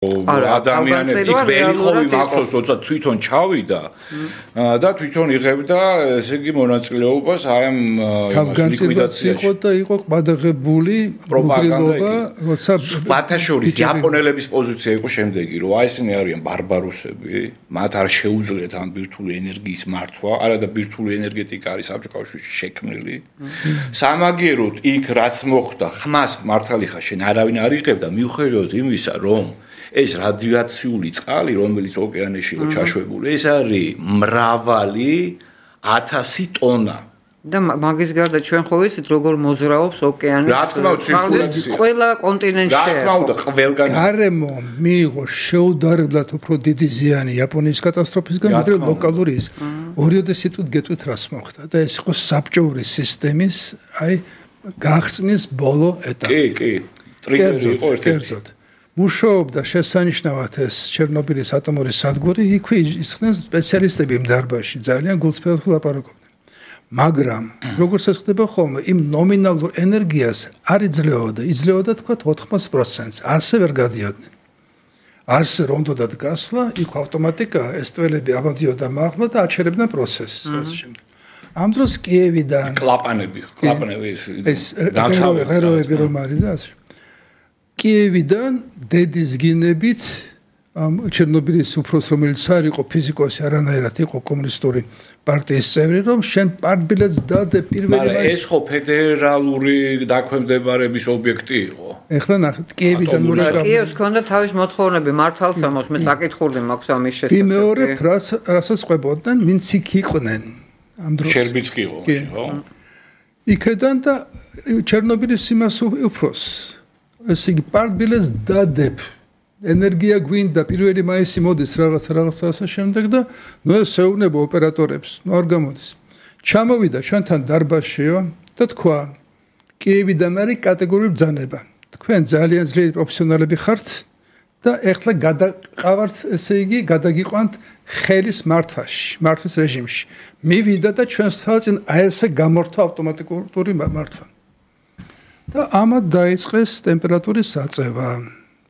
ადამიანები ველი ხოლმე მახსოვს როცა თვითონ ჩავიდა და თვითონ იღებდა ესე იგი მონაწილეობას აი ამ ლიკვიდაციაში იყო და იყო ყადაღებული პროპაგანდა როცა ბათაშორის იაპონელების პოზიცია იყო შემდეგი რომ აი ესენი არიან ბარბაროსები მათ არ შეუძლიათ ამ ბირთვული ენერგიის მართვა არა და ბირთვული ენერგეტიკა არის საბჭოთა კავშირში შექმნილი სამაგიეროდ იქ რაც მოხდა ხმას მართალი ხარ შენ არავინ არ იღებდა მიუხედავად იმისა რომ ეს რადიაციული წყალი, რომელიც ოკეანეში იყო ჩაშვებული, ეს არის მრავალი 1000 ტონა. და მაგის გარდა ჩვენ ხო ვიცით როგორ მოძრაობს ოკეანის ყველა კონტინენტში. რა თქმა უნდა, ყველგან გარემო მიიღო შეუდარებლად უფრო დიდი ზიანი იაპონიის კატასტროფისგან, ვიდრე ლოკალური ის. ორიოდე სიტყვით გეტყვით რას მოხდა და ეს იყო საბჭოური სისტემის, აი, გაღწნის ბოლო ეტაპი. კი. ტრიგერი იყო ერთ-ერთი. მუშაობდა შესანიშნავად ეს ჩერნობილის ატომური სადგური, იქვე ისხდნენ სპეციალისტები იმ დარბაზში, ძალიან გულწრფელად ლაპარაკობდნენ. მაგრამ როგორც ეს ხდება ხოლმე, იმ ნომინალურ ენერგიას არ იძლეოდა თქვა 80%-ს, ასე ვერ გადიოდნენ. ასე რომ უნდათ გასვლა, იქ ავტომატიკა ეს ტველები ამოდიოდა მაღლა და აჩერებდნენ პროცესს ასე შემდეგ. ამ დროს კიევიდან კლაპანები ეს ღეროები რომ არის და ასე კიევიდან დედის გინებით ამ ჩერნობილის უფროს რომელიც არ იყო ფიზიკოსი არანაირად იყო კომუნისტური პარტიის წევრი რომ შენ პარტბილეთს დადე პირველი მაისს ეს ხო ფედერალური დაქვემდებარების ობიექტი იყო ეხლა ნახეთ კიევიდან კიევს ჰქონდა თავის მოთხოვნები მართალსამოს მე საკითხული მაქვს ამის შესახებ მეორე რასაც ყვებოდნენ ვინც იქ იყვნენ ამ დროს შერბიცკი იყო ხო იქედან და ჩერნობილის იმას უფროს ესე იგი პარტბილეთს დადებ ენერგია გვინდა პირველი მაისი მოდის რაღაცა ასე შემდეგ და ნუ ეს ეუბნება ოპერატორებს ნუ არ გამოდის ჩამოვიდა ჩვენთან დარბაზშიო და თქვა კიევიდან არის კატეგორიული ბრძანება თქვენ ძალიან ძლიერი პროფესიონალები ხართ და ეხლა გადაყავართ ესე იგი გადაგიყვანთ ხელის მართვის რეჟიმში მივიდა და ჩვენს თვალწინ აი ესე გამორთვა ავტომატიკური მართვა და ამათ დაიწყეს ტემპერატურის აწევა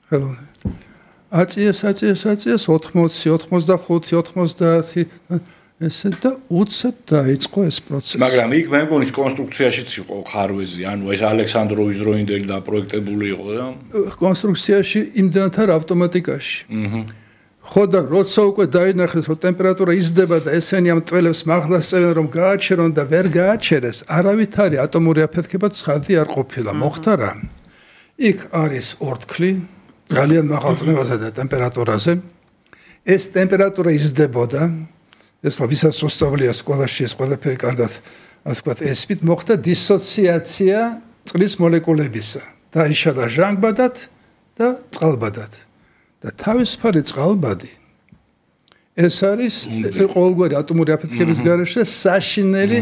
ხელოვნურად აწიეს 80, 85, 90 ესე და უცებ დაიწყო ეს პროცესი. მაგრამ იქ მე მგონი კონსტრუქციაშიც იყო ხარვეზი, ანუ ეს ალექსანდროვის დროინდელი დაპროექტებული იყო და კონსტრუქციაში იმდანაც არ ავტომატიკაში. ხო და როცა უკვე დაინახეს რომ ტემპერატურა იზრდება და ესენი ამ ტველებს მაღლას წევენ რომ გააჩერონ და ვერ გააჩერეს, არავითარი ატომური აფეთქება ცხადი არ ყოფილა. მოხდა რა? იქ არის ორთქლი ძალიან მაღალ წნევაზე და ტემპერატურაზე. ეს ტემპერატურა იზრდებოდა. ეს ვისაც მოსწავლეა სკოლაში ეს ყველაფერი კარგად ასე ვთქვათ, ესმით მოხდა დისოციაცია წყლის მოლეკულებისა. დაიშალა ჟანგბადად და წყალბადად. და თავისუფალი წყალბადი ეს არის ყოველგვარი ატომური აფეთქების გარეშე საშინელი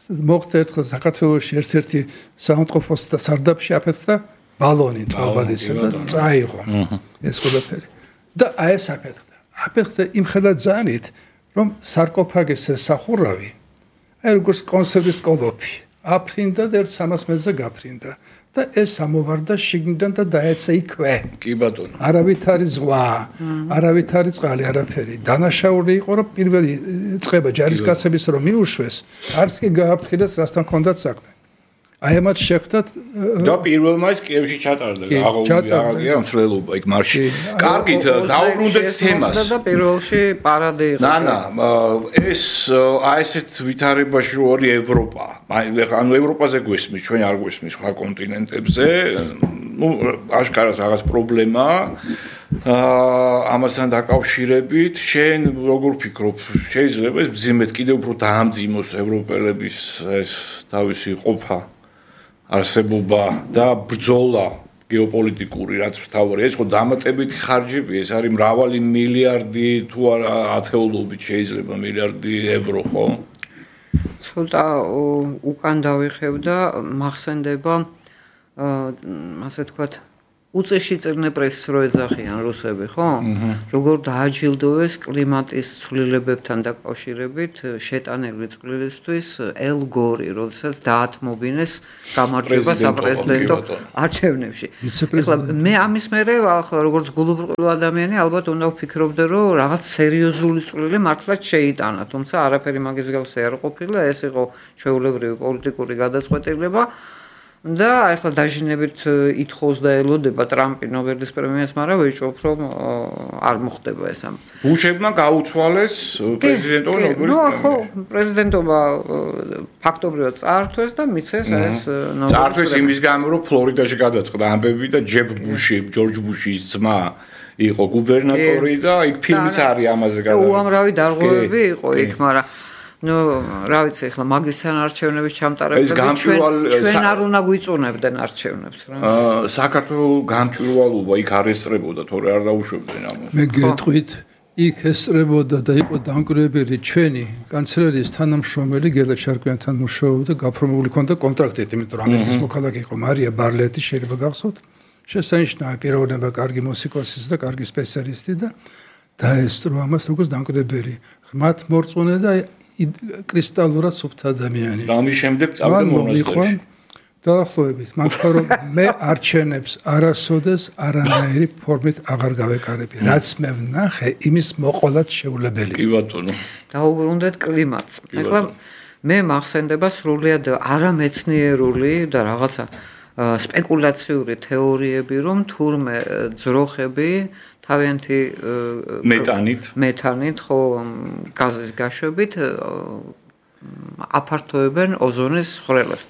მოხდა ერთხელ საქართველოში ერთ-ერთი საავადმყოფოს და სარდაფში აფეთქდა ბალონი წყალბადისა და წაიღო ეს ყველაფერი და აი ეს აფეთქდა იმხედად ძალით რომ სარკოფაგის სახურავი აი როგორც კონსერვის კოლოფი აფრინდა და 300 მეტრზე გაფრინდა და ეს ამოვარდა შიგნიდან და დაეცა იქვე. კი ბატონო. არავით არის ზღვა, არავით არის წყალი, არაფერი. დანაშაული იყო რომ პირველი წყება ჯარისკაცების რომ მიუშვეს, არც კი გააფრთხილეს რასთან ჰქონდათ საქმე. აი ამათ შეხვდათ და პირველმა ის კიევში ჩატარდა, აღაუგია მსვლელობა იქ მარში. კარგით, დაუბრუნდეთ თემას. და პირველში პარადი იყო. ეს აი ესეთ ვითარებაში რო არის ევროპა. ანუ ევროპაზე გვესმის, ჩვენ არ გვესმის სხვა კონტინენტებზე. ნუ აშკარად რაღაც პრობლემაა. ამასთან დაკავშირებით, შენ როგორ ფიქრობ, შეიძლება ეს მძიმედ კიდევ უფრო დაამძიმოს ევროპელების ეს თავისი ყოფა არსებობა და ბრძოლა გეოპოლიტიკური რაც მთავარია ეს ხო დამატებითი ხარჯები ეს არის მრავალი მილიარდი თუ არა ათეულობით შეიძლება მილიარდი ევრო ხო ცოტა უკან დავიხევ და მახსენდება ასე თქვათ უწეში წირნე პრესს რო ეძახიან რუსები, ხო? როგორ დააჯილდოვეს კლიმატის ცვლილებებთან დაკავშირებით შეტანილი წვლილისთვის ელ გორი, როდესაც დაათმობინეს გამარჯვება საპრეზიდენტო არჩევნებში. ეხლა მე ამის მერე ახლა როგორც გულუბრყვილო ადამიანი ალბათ უნდა ვფიქრობდე, რომ რაღაც სერიოზული წვლილი მართლაც შეიტანა, თუმცა არაფერი მაგის მსგავსი არ ყოფილა, ეს იყო ჩვეულებრივი პოლიტიკური გადაწყვეტილება. და ახლა დაჟინებით ითხოვს და ელოდება ტრამპი ნობელის პრემიას, მაგრამ ვეჭვობ, რომ არ მოხდება ეს ამ. ბუშებმა გაუცვალეს პრეზიდენტო ნობელის პრემია. ხო, პრეზიდენტობა ფაქტობრივად წაართვეს და მიცეს ეს ნობელის პრემია. წაართვეს იმის გამო, რომ ფლორიდაში გადაწყდა ამბები და ჯებ ბუში, ჯორჯ ბუშის ძმა იყო გუბერნატორი და იქ ფილმიც არის ამაზე გადაღებული. უამრავი დარღვევები იყო იქ, მაგრამ რა ვიცი, ახლა მაგისთან არჩევნების ჩამტარებლები ჩვენ არ უნდა გვიწუნებდნენ არჩევნებს რა. საქართველოს გამჭვირვალობა იქ არ ესწრებოდა, თორე არ დაუშვებდნენ ამას. მე გეტყვით, იქ ესწრებოდა და იყო დამკვირვებელი ჩვენი კანცლერიის თანამშრომელი გელა ჩარკვიანთან მუშაობდა, გაფორმებული ჰქონდა კონტრაქტით, იმიტომ რომ ამერიკის მოქალაქე იყო მარია ბარლეტი, შეიძლება გახსოვთ. შესანიშნავი პიროვნება, კარგი მუსიკოსი და კარგი სპეციალისტი და დაესწრო ამას როგორც დამკვირვებელი. ღრმად მორწმუნე და კრისტალურად სუფთა ადამიანი. და ამის შემდეგ წავიდა მონასტერში. დაახლოებით, მაგრამ რომ მე არჩევნებს არასოდეს არანაირი ფორმით აღარ გავეკარები. რაც მე ვნახე, იმის მოყოლად შეუძლებელი. კი ბატონო. დაუბრუნდეთ კლიმატს. ახლა მე მახსენდება სრულიად არამეცნიერული და რაღაცა სპეკულაციური თეორიები, რომ თურმე ძროხები თავიანთი მეთანით ხო გაზის გაშვებით აფართოებენ ოზონის ხვრელებს.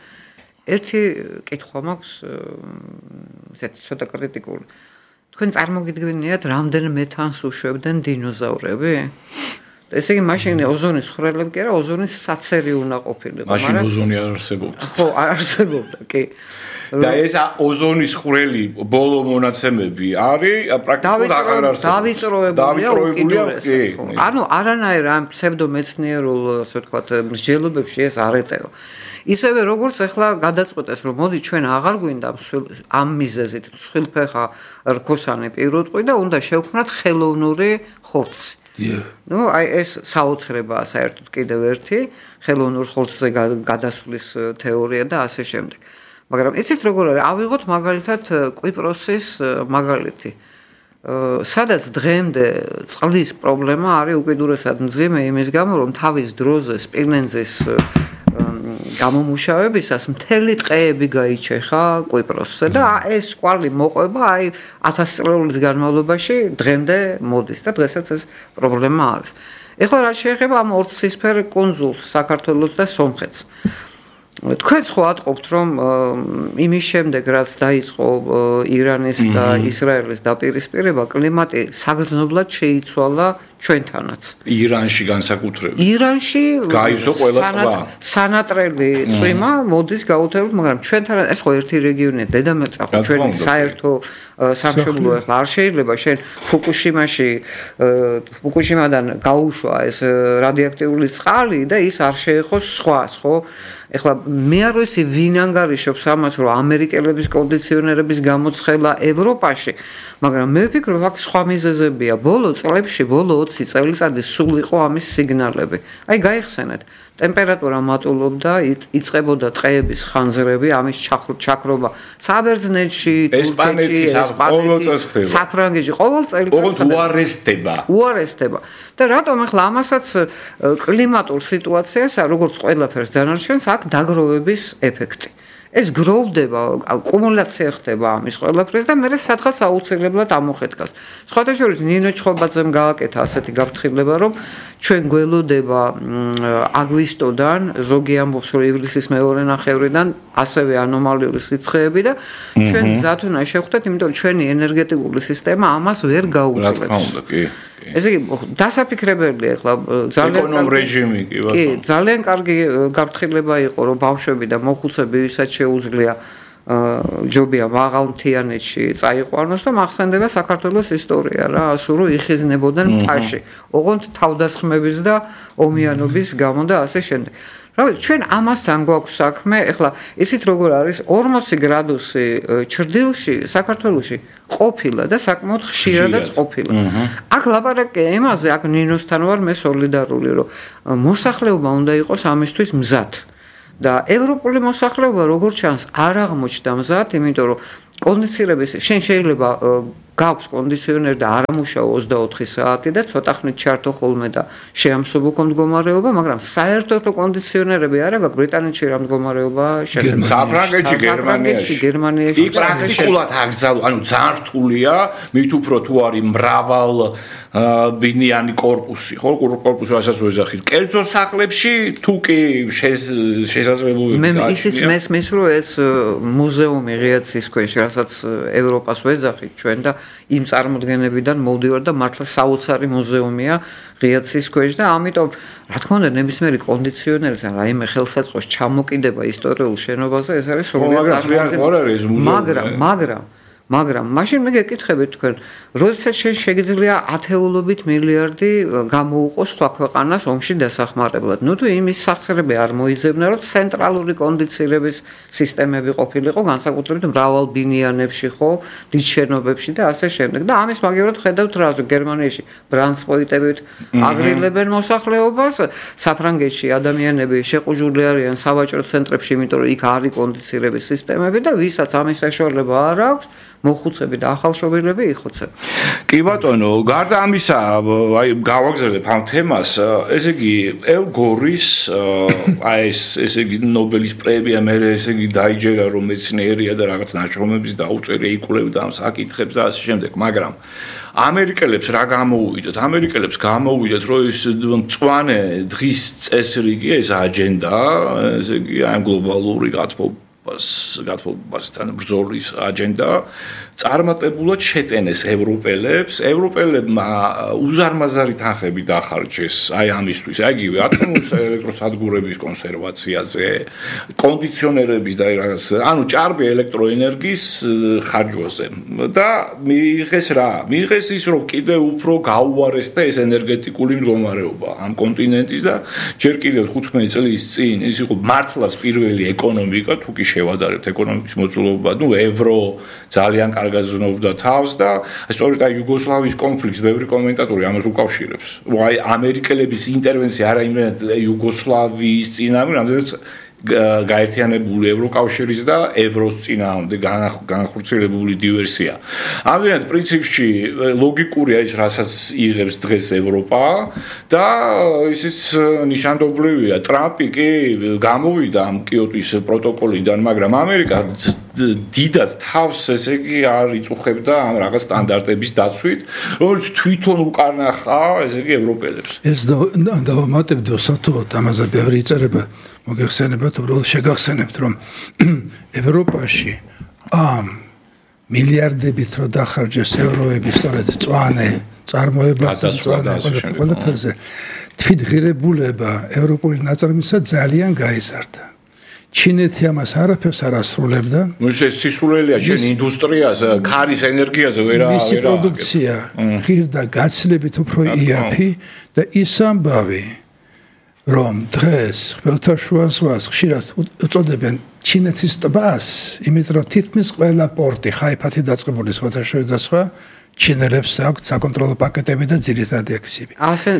ერთი კითხვა მაქვს, ესეთი ცოტა კრიტიკული. თქვენ წარმოგიდგენიათ, რამდენ მეთანს უშვებდნენ დინოზავრები? ესე იგი, მაშინ ოზონის ხვრელები კი არა, ოზონის საცერი უნდა ყოფილიყო, მაგრამ მაშინ ოზონი არ არსებობდა. ხო, არ არსებობდა, კი. და ეს ოზონის ხვრელი ბოლო მონაცემები არის პრაქტიკულად აღარ არსებობს. დავიწროებულია უკიდურესად. ანუ არანაირ ამ ფსევდომეცნიერულ, ასე ვთქვათ, მსჯელობებში ეს არ ეტევა. ისევე როგორც ახლა გადაწყვეტეს, რომ მოდი ჩვენ აღარ გვინდა ამ მიზეზით მსხვილფეხა რქოსანი პირუტყვი და უნდა შევქმნათ ხელოვნური ხორცი. ნუ აი ეს საოცრებაა საერთოდ კიდევ ერთი ხელოვნურ ხორცზე გადასვლის თეორია და ასე შემდეგ. მაგრამ იცით როგორ არის? ავიღოთ მაგალითად კვიპროსის მაგალითი. სადაც დღემდე წყლის პრობლემა არის უკიდურესად მძიმე იმის გამო, რომ თავის დროზე სპილენძის გამომუშავებისას მთელი ტყეები გაიჩეხა კვიპროსზე და ეს კვალი მოყვება აი 1000 წლების განმავლობაში დღემდე მოდის და დღესაც ეს პრობლემა არის. ეხლა რა შეეხება ამ ორცისფერ კუნძულს, საქართველოს და სომხეთს. თქვენც ხო ატყობთ, რომ იმის შემდეგ, რაც დაიწყო ირანის და ისრაელის დაპირისპირება, კლიმატი საგრძნობლად შეიცვალა ჩვენთანაც. ირანში განსაკუთრებით. ირანში გაიზო ყველა ტბა. სანატრელი წვიმა მოდის გაუთებელად, მაგრამ ჩვენთან ეს ხო ერთი რეგიონია, დედამიწა ხო ჩვენი საერთო სამშობლო ახლა არ შეიძლება შენ ფუკუშიმადან გაუშვა ეს რადიოაქტიული წყალი და ის არ შეეხოს სხვას, ხო? ეხლა მე არ ვიცი ვინ ანგარიშობს ამას, რომ ამერიკელების კონდიციონერების გამოცხელა ევროპაში, მაგრამ მე ვფიქრობ, აქ სხვა მიზეზებია. ბოლო წლებში, ბოლო 20 წელიწადი სულ იყო ამის სიგნალები. აი გაიხსენეთ, ტემპერატურა მატულობდა, იწყებოდა ტყეების ხანძრები, ამის ჩაქრობა საბერძნეთში, თურქეთში, ესპანეთში, საფრანგეთში, ყოველ წელიწადს უარესდება. და რატომ ახლა ამასაც კლიმატურ სიტუაციას, როგორც ყველაფერს დანარჩენს, აქ დაგროვების ეფექტი. ეს გროვდება, კუმულაცია ხდება ამის ყველაფრის და მე სადღაც აუცილებლად ამოხეთქავს. სხვათა შორის ნინო ჩხობაძემ გააკეთა ასეთი გაფრთხილება, რომ ჩვენ გველოდება აგვისტოდან, ზოგი ამბობს, რომ ივლისის მეორე ნახევრიდან ასევე ანომალიური სიცხეები და ჩვენ მზად უნდა შევხვდეთ, იმიტომ რომ ჩვენი ენერგეტიკული სისტემა ამას ვერ გაუძლებს. რა თქმა უნდა, კი. ესე იგი, დასაფიქრებელია ახლა ძალიან რეჟიმი კი ბატონო. კი, ძალიან კარგი გაფრთხილება იყო, რომ ბავშვები და მოხუცები ვისაც შეუძლია ჯობია მაღალ მთიანეთში წაიყვანოს და მახსენდება საქართველოს ისტორია რა, ასურ რომ იხიზნებოდნენ მთაში. ოღონდ თავდასხმების და ომიანობის გამო და ასე შემდეგ. რა ვიცი, ჩვენ ამასთან გვაქვს საქმე, ეხლა ისიც როგორ არის 40 გრადუსი ჩრდილში, საქართველოში ყოფილა და საკმაოდ ხშირადაც ყოფილა. აქ ლაპარაკია იმაზე, აქ ნინოსთან ვარ მე სოლიდარული, რომ მოსახლეობა უნდა იყოს ამისთვის მზად. და ევროპული მოსახლეობა როგორც ჩანს არ აღმოჩნდა მზად, იმიტომ რომ კონდიციონერების შენ შეიძლება გაქვს კონდიციონერი და არ ამუშაო 24 საათი და ცოტა ხნით ჩართო ხოლმე და შეამსუბუქო მდგომარეობა, მაგრამ საერთოდ კონდიციონერები არა გაქვს ბრიტანეთში რა მდგომარეობა შედგება. საფრანგეთში, გერმანიაში. იქ პრაქტიკულად აკრძალვა, ანუ ძალიან რთულია, მით უფრო თუ არის მრავალ ბინიანი корпуსი, ხო, корпуსი რასაც ვეძახით. კერძო სახლებში თუ კი შესაძლებლობები მე ისიც მესმის რომ ეს მუზეუმი ღიაცის ქვეშ, რასაც ევროპას ვეძახით ჩვენ და იმ წარმოდგენებიდან მოვდივარ და მართლა საოცარი მუზეუმია ღიაცის ქვეშ და ამიტომ რა თქმა უნდა ნებისმიერი კონდიციონერის ან რაიმე ხელსაწყოს ჩამოკიდება ისტორიულ შენობაზე ეს არის სრულიად წარმოუდგენელი. მაგრამ მაშინ მე გეკითხებით თქვენ, როდესაც შეიძლება ათეულობით მილიარდი გამოუყოს სხვა ქვეყანას ომში დასახმარებლად. ნუ თუ იმის სახსრები არ მოიძებნა, რომ ცენტრალური კონდიციონერების სისტემები ყოფილიყო, განსაკუთრებით მრავალ ბინიანებში, ხო, დიდ შენობებში და ასე შემდეგ. და ამის მაგივრად ხედავთ რა, გერმანიაში ბრანსპოიტებით აგრილებენ მოსახლეობას, საფრანგეთში ადამიანები შეყუჟული არიან სავაჭრო ცენტრებში, იმიტომ რომ იქ არის კონდიციონერების სისტემები და ვისაც ამის საშუალება არ აქვს მოხუცები და ახალშობილები იხოცებ. კი ბატონო, გარდა ამისა, აი გავაგზავნებ ამ თემას, ესე იგი ელ გორის ესე იგი ნობელის პრემია მე ესე იგი დაიჯერა რომ მეცნიერია და რაღაც ნაშრომების დაუწერია იკვლევდა ამ საკითხებს და ასე შემდეგ, მაგრამ ამერიკელებს რა გამოუვიდათ? ამერიკელებს გამოუვიდათ, რომ ის მწვანე დღის წესრიგი, ეს აჯენდა, ესე იგი ამ გლობალური გათბობასთან ბრძოლის აჯენდა წარმატებულად შეტენეს ევროპელებმა უზარმაზარი თანხები დახარჯეს აი ამისთვის, აიგივე ატომის ელექტროსადგურების კონსერვაციაზე, კონდიციონერების და რაღაც, ანუ ჭარბი ელექტროენერგიის ხარჯვაზე და მიიღეს ის, რომ კიდევ უფრო გაუარესდა ეს ენერგეტიკული მდგომარეობა ამ კონტინენტის და ჯერ კიდევ 15 წლის წინ ის იყო მართლაც პირველი ეკონომიკა, თუ კი შევადარებთ ეკონომიკის მოწყობილობა, ნუ ევრო ძალიან კარგად ზნობდა თავს და სწორედ აი იუგოსლავიის კონფლიქტს ბევრი კომენტატორი ამას უკავშირებს. აი ამერიკელების ინტერვენცია არა იმენად იუგოსლავიის წინააღმდეგ, რამდენიც გაერთიანებული ევროკავშირის და ევროს წინააღმდეგ განხორციელებული დივერსია. ამჟამად პრინციპში ლოგიკურია ის, რასაც იღებს დღეს ევროპა და ისიც ნიშანდობლივია. ტრამპი კი გამოვიდა ამ კიოტის პროტოკოლიდან, მაგრამ ამერიკა დიდად თავს ესე იგი არ იწუხებდა ამ რაღაც სტანდარტების დაცვით, რომელიც თვითონ უკარნახა ესე იგი ევროპელებს. ეს დავამატებდო სათუოდ ამაზე ბევრი იწერება, მოგეხსენებათ, უბრალოდ შეგახსენებთ, რომ ევროპაში ამ მილიარდებით რო დახარჯეს ევროები სწორედ მწვანე წარმოებას ყველაფერზე, თვითღირებულება ევროპული ნაწარმისა ძალიან გაიზარდა. ჩინეთი ამას არაფერს არ ასრულებდა. ეს სისულელია შენ ინდუსტრიას, ქარის ენერგიაზე ვერა. მისი პროდუქცია ღირდა გაცილებით უფრო იაფი და ის ამბავი, რომ დღეს ხმელთაშუა ზღვას ხშირად უწოდებენ ჩინეთის ტბას, იმიტომ რომ თითქმის ყველა პორტი ხაიფათი დაწყებული სხვადასხვა და სხვა ჩინელებს აქვს საკონტროლო პაკეტები და ძირითადი აქციები. ასე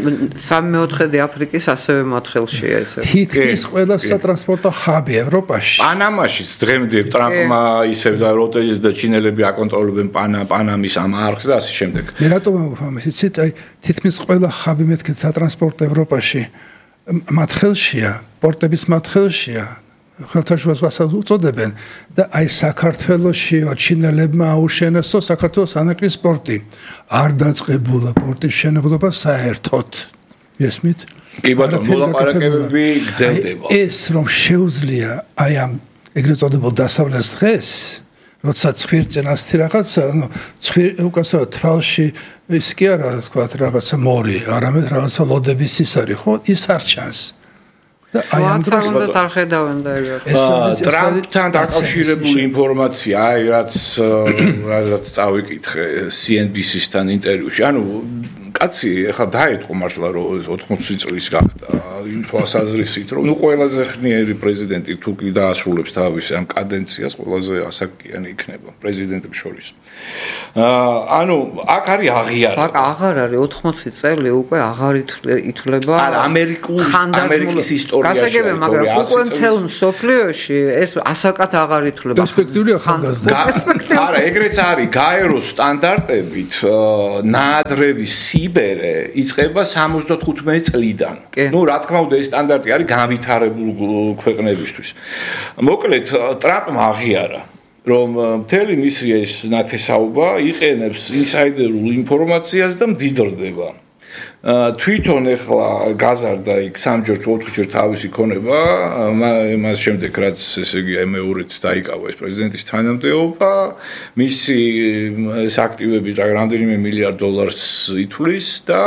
3/4 აფრიკის ასევე მათ ხელშია ესე. თითქმის ყველა სატრანსპორტო ხაბი ევროპაში. პანამაშიც დღემდე ტრამპმა ისევ და როტელის და ჩინელები აკონტროლებენ პანამის ამ არხს და ასე შემდეგ. მე რატომ ამბობ იცით, აი თითქმის ყველა ხაბი მეთქე სატრანსპორტო ევროპაში მათ ხელშია, პორტებიც მათ ხელშია. ხალხთა ზღვასაც უწოდებენ და აი საქართველოსშიო ჩინელებმა აუშენესო საქართველოს ანაკლის პორტი. არ დაწყებულა პორტის მშენებლობა საერთოდ. ესმით? კი ბატონო, მოლაპარაკებები გრძელდება. ეს რომ შეუძლია აი ამ ეგრეთ წოდებულ დასავლეთ დღეს, როცა ცხვირწინასთი რაღაცა, ანუ უკასო თვალში ის კი არა თქვა რაღაცა მორი, არამედ რაღაცა ლოდების ისარი, ხო? ის არ ჩანს. და აი ამ დროს უნდა თარხედავენ და ტრამპთან დაკავშირებული ინფორმაცია, აი რაც წავიკითხე CNBC-სთან ინტერვიუში. ანუ კაცი ეხლა დაეთყო მართლა რომ 80 წლის გახდა იმ თვალსაზრისით რომ ყველაზე ხნიერი პრეზიდენტი თუ კი დაასრულებს თავის ამ კადენციას ყველაზე ასაკიანი იქნება პრეზიდენტებს შორის. ანუ აქ არის აღიარება. აქ აღარ არის 80 წელი უკვე აღარ ითვლება. არა ამერიკის ისტორიაში. გასაგებია, მაგრამ უკვე მთელ მსოფლიოში ეს ასაკად აღარ ითვლება. პერსპექტიული ახალგაზრდა. არა, ეგრეც არის გაეროს სტანდარტებით ნაადრევი სიბერე იწყება 75 წლიდან. ნუ რა თქმა უნდა ეს სტანდარტი არის განვითარებული ქვეყნებისთვის. მოკლედ ტრამპმა აღიარა რომ მთელი მისი ეს ნათესაობა იყენებს ინსაიდერულ ინფორმაციას და მდიდრდება. თვითონ ეხლა გაზარდა იქ 3-ჯერ 4-ჯერ თავისი ქონება, მას შემდეგ რაც ესე იგი მეორედ დაიკავა ეს პრეზიდენტის თანამდებობა, მისი ეს აქტივები რამდენიმე მილიარდ დოლარს ითვლის და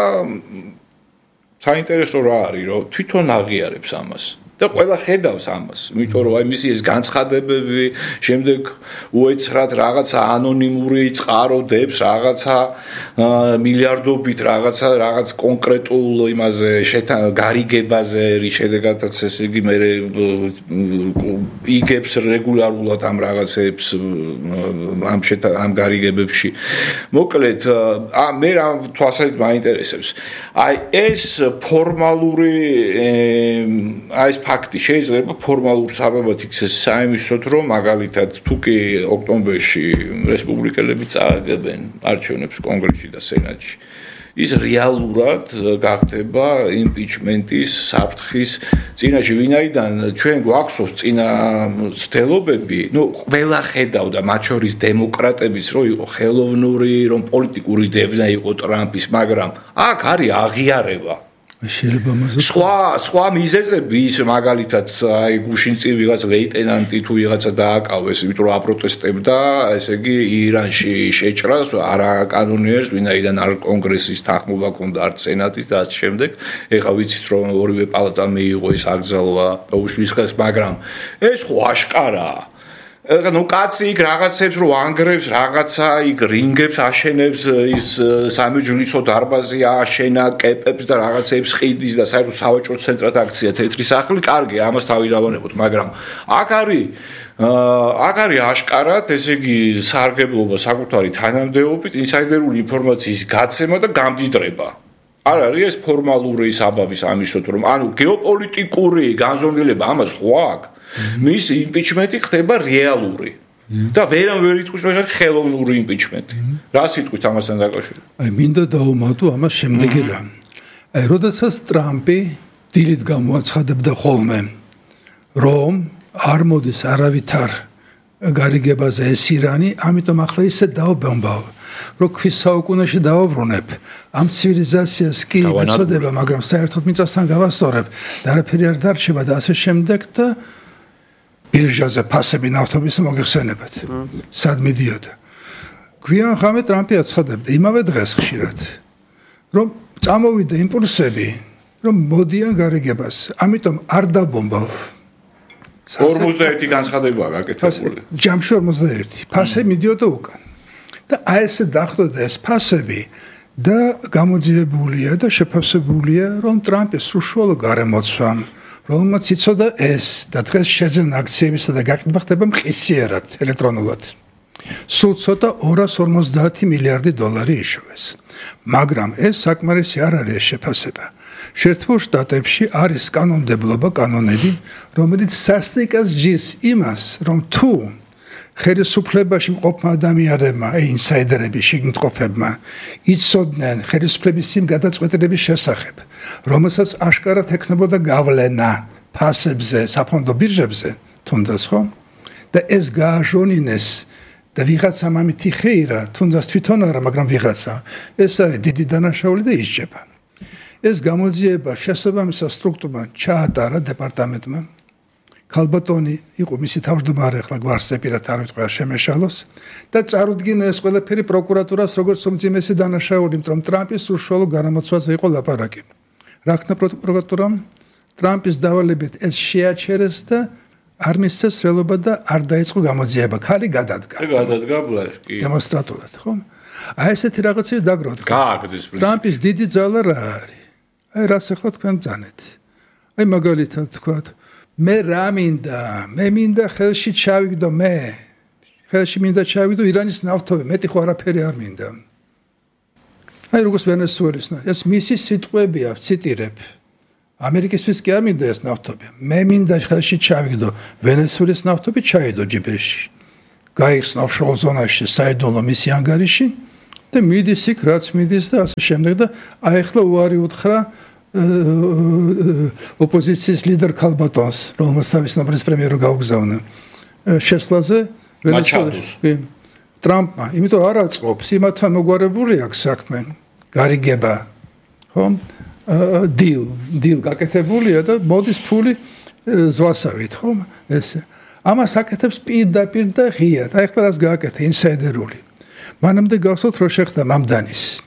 საინტერესო რა არის, რომ თვითონ აღიარებს ამას. და ყველა ხედავს ამას, იმიტომ რომ აი მისი ეს განცხადებები, შემდეგ უეცრად რაღაცა ანონიმური წყაროდებს, რაღაცა მილიარდობით რაღაც კონკრეტულ იმაზე გარიგებაზე, რის შედეგადაც ესე იგი მე იგებს რეგულარულად ამ რაღაცებს ამ გარიგებებში. მოკლედ, მე რა თვალსაზრისით მაინტერესებს. აი ეს ფორმალური ეს ფაქტი შეიძლება ფორმალურ საბაბად იქცეს საიმისოდ, რომ მაგალითად თუ კი ოქტომბერში რესპუბლიკელები წააგებენ არჩევნებს კონგრესში და სენატში, ის რეალურად გახდება იმპიჩმენტის საფრთხის წინაშე, ვინაიდან ჩვენ გვახსოვს წინა ცდელობები, ნუ ყველა ხედავდა მათ შორის დემოკრატების, რომ იყო ხელოვნური, რომ პოლიტიკური დევნა იყო ტრამპის, მაგრამ აქ არის აღიარება. შეიძლება მასო სხვა მიზეზები ის მაგალითად აი გუშინ წინ ვიღაც ლეიტენანტი თუ ვიღაცა დააკავეს, იმიტომ რომ აპროტესტებდა, ესე იგი ირანში შეჭრას არაკანონიერს, ვინაიდან არ კონგრესის თანხმობა ჰქონდა არც სენატის და ასე შემდეგ. ეხლა ვიცით რომ ორივე პალატამ მიიღო ეს აკრძალვა და უშლის ხეს, მაგრამ ეს ხო აშკარაა. ნუ კაცი იქ რაღაცებს რო ანგრევს, რაღაცა იქ რინგებს აშენებს, ის სამეჯლისო დარბაზი აშენა, კეპებს და რაღაცებს ყიდის და საერთოდ სავაჭრო ცენტრად აქცია თეთრი სახლი, კარგი, ამას თავი დავანებოთ, მაგრამ აქ არის აშკარად, ესე იგი სარგებლობა საკუთარი თანამდებობით, ინსაიდერული ინფორმაციის გაცემა და გამდიდრება. არ არის ეს ფორმალური საბაბის ამისოთ, რომ ანუ გეოპოლიტიკური განზომილება ამას ხო აქვს? მის იმპიჩმენტი ხდება რეალური და ვერ იტყვის რომ ეს ხელოვნური იმპიჩმენტი. რა სიტყვით ამასთან დაკავშირებით? აი მინდა დავუმატო ამას შემდეგი რამ. აი როდესაც ტრამპი დილით გამოაცხადებდა ხოლმე რომ არ მოდის არავითარ გარიგებაზე ეს ირანი, ამიტომ ახლა ისე დავბომბავ, რომ ქვის საუკუნეში დავაბრუნებ. ამ ცივილიზაციას კი ეწოდება, მაგრამ საერთოდ მიწასთან გავასწორებ და არაფერი არ დარჩება და ასე შემდეგ და ბირჟაზე ფასები ნავთობის მოიხსენებათ. სად მიდიოდა? გვიან ხამე ტრამპი აცხადებდა იმავე დღეს ხშირად, რომ წამოვიდა იმპულსები, რომ მოდიან გარიგებას, ამიტომ არ დაბომბავ. 51 განცხადებაა გაკეთებული. ჯამში 51. ფასები მიდიოდა უკან. და აი ესე დახვდა ეს ფასები და გამოძიებულია და შეფასებულია, რომ ტრამპის სრუშუალო გარემოცვამ რომელმაც იცოდა ეს და დღეს შეძენა აქციებისა და გაყიდვა ხდება მყისიერად ელექტრონულად. სულ ცოტა 250 მილიარდი დოლარი იშოვეს. მაგრამ ეს საკმარისი არ არის შეფასება. შეერთებულ შტატებში არის კანონმდებლობა, კანონები, რომელიც სასტიკას ჯის იმას, რომ თუ ხელისუფლებაში მყოფ ადამიანებმა, ინსაიდერები, შიგნიტყოფებმა იცოდნენ ხელისუფლების იმ გადაწყვეტილების შესახებ, რომელსაც აშკარად ექნებოდა გავლენა ფასებზე, საფონდო ბირჟებზე, თუნდაც ხო? და ეს გააჟონინეს და ვიღაცამ ამით იხეირა, თუნდაც თვითონ არა, მაგრამ ვიღაცა. ეს არის დიდი დანაშაული და ისჯება. ეს გამოძიება შესაბამისად სტრუქტურამ ჩაატარა დეპარტამენტმა. ქალბატონი იყო მისი თავმჯდომარე, ახლა გვარს ზეპირად არ ვიტყვი არ შემეშალოს და წარუდგინა ეს ყველაფერი პროკურატურას როგორც უმძიმესი დანაშაული, იმიტომ რომ ტრამპის სრუშუალო გარემოცვაზე იყო ლაპარაკი. რა ქნა პროკურატურამ? ტრამპის დავალებით ეს შეაჩერეს და არ მისცეს რელობა და არ დაიწყო გამოძიება. ქალი გადადგა. გადადგა ბლაი. დემონსტრატულად, ხო? აი ესეთი რაღაცები დაგროვთ. გააგდეს პრინციპი. ტრამპის დიდი ძალა რა არის? აი რას ახლა თქვენ ბძანეთ? აი მაგალითად თქვათ, მე რა მინდა? მე მინდა ხელში ჩავიგდო მე. ხელში მინდა ჩავიგდო ირანის ნავთობი, მეტი ხო არაფერი არ მინდა. აი როგორც ვენესუელის, ეს მისი სიტყვებია, ვციტირებ. ამერიკისთვის კი არ მინდა ეს ნავთობი. მე მინდა ხელში ჩავიგდო ვენესუელის ნავთობი ჩაიდო ჯიბეში. გაიხსნა ოფშორ ზონაში, საიდუმლო მისი ანგარიში და მიდის იქ რაც მიდის და ასე შემდეგ და აი ახლა უარი უთხრა ოპოზიციის ლიდერ ქალბატონს, რომელსაც თავის ნაბრის პრემიერო გაუგზავნა. შესვლაზე ვენესუელაში. ტრამპმა, იმიტომ არ აწყობს, იმათთან მოგვარებული აქვს საქმე. გარიგება. ხო? დილ გაკეთებულია და მოდის ფული ზვასავით, ხო? ესე. ამას აკეთებს პირდაპირ და ღიად. აი ახლა რას გააკეთა ინსაიდერული. მანამდე გახსოვთ რომ შეხდა მამდანის.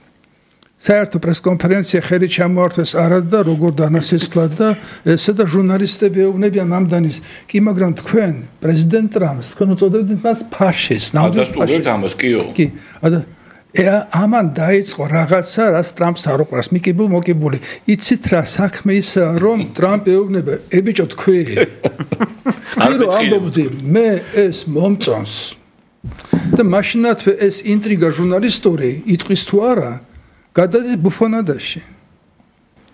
საერთო პრესკონფერენცია ხელი ჩამოართვეს არად და როგორ დანასისხლად და ესე და ჟურნალისტები ეუბნებიან მამდანის. კი, მაგრამ თქვენ პრეზიდენტ ტრამპს თქვენ უწოდებთ მას ფაშისტს. ნამდვილად ამას კიო. კი. ამან დაიწყო რაღაცა, რაც ტრამპს არ უყვარს, მოკიბული. იცით რა საქმე ისაა, რომ ტრამპი ეუბნება, ბიჭო თქვი. ირო ამბობდი, მე ეს მომწონს. და მაშინათვე ეს ინტრიგა ჟურნალისტური იტყვის თუ არა, გადადის ბუფონადაში.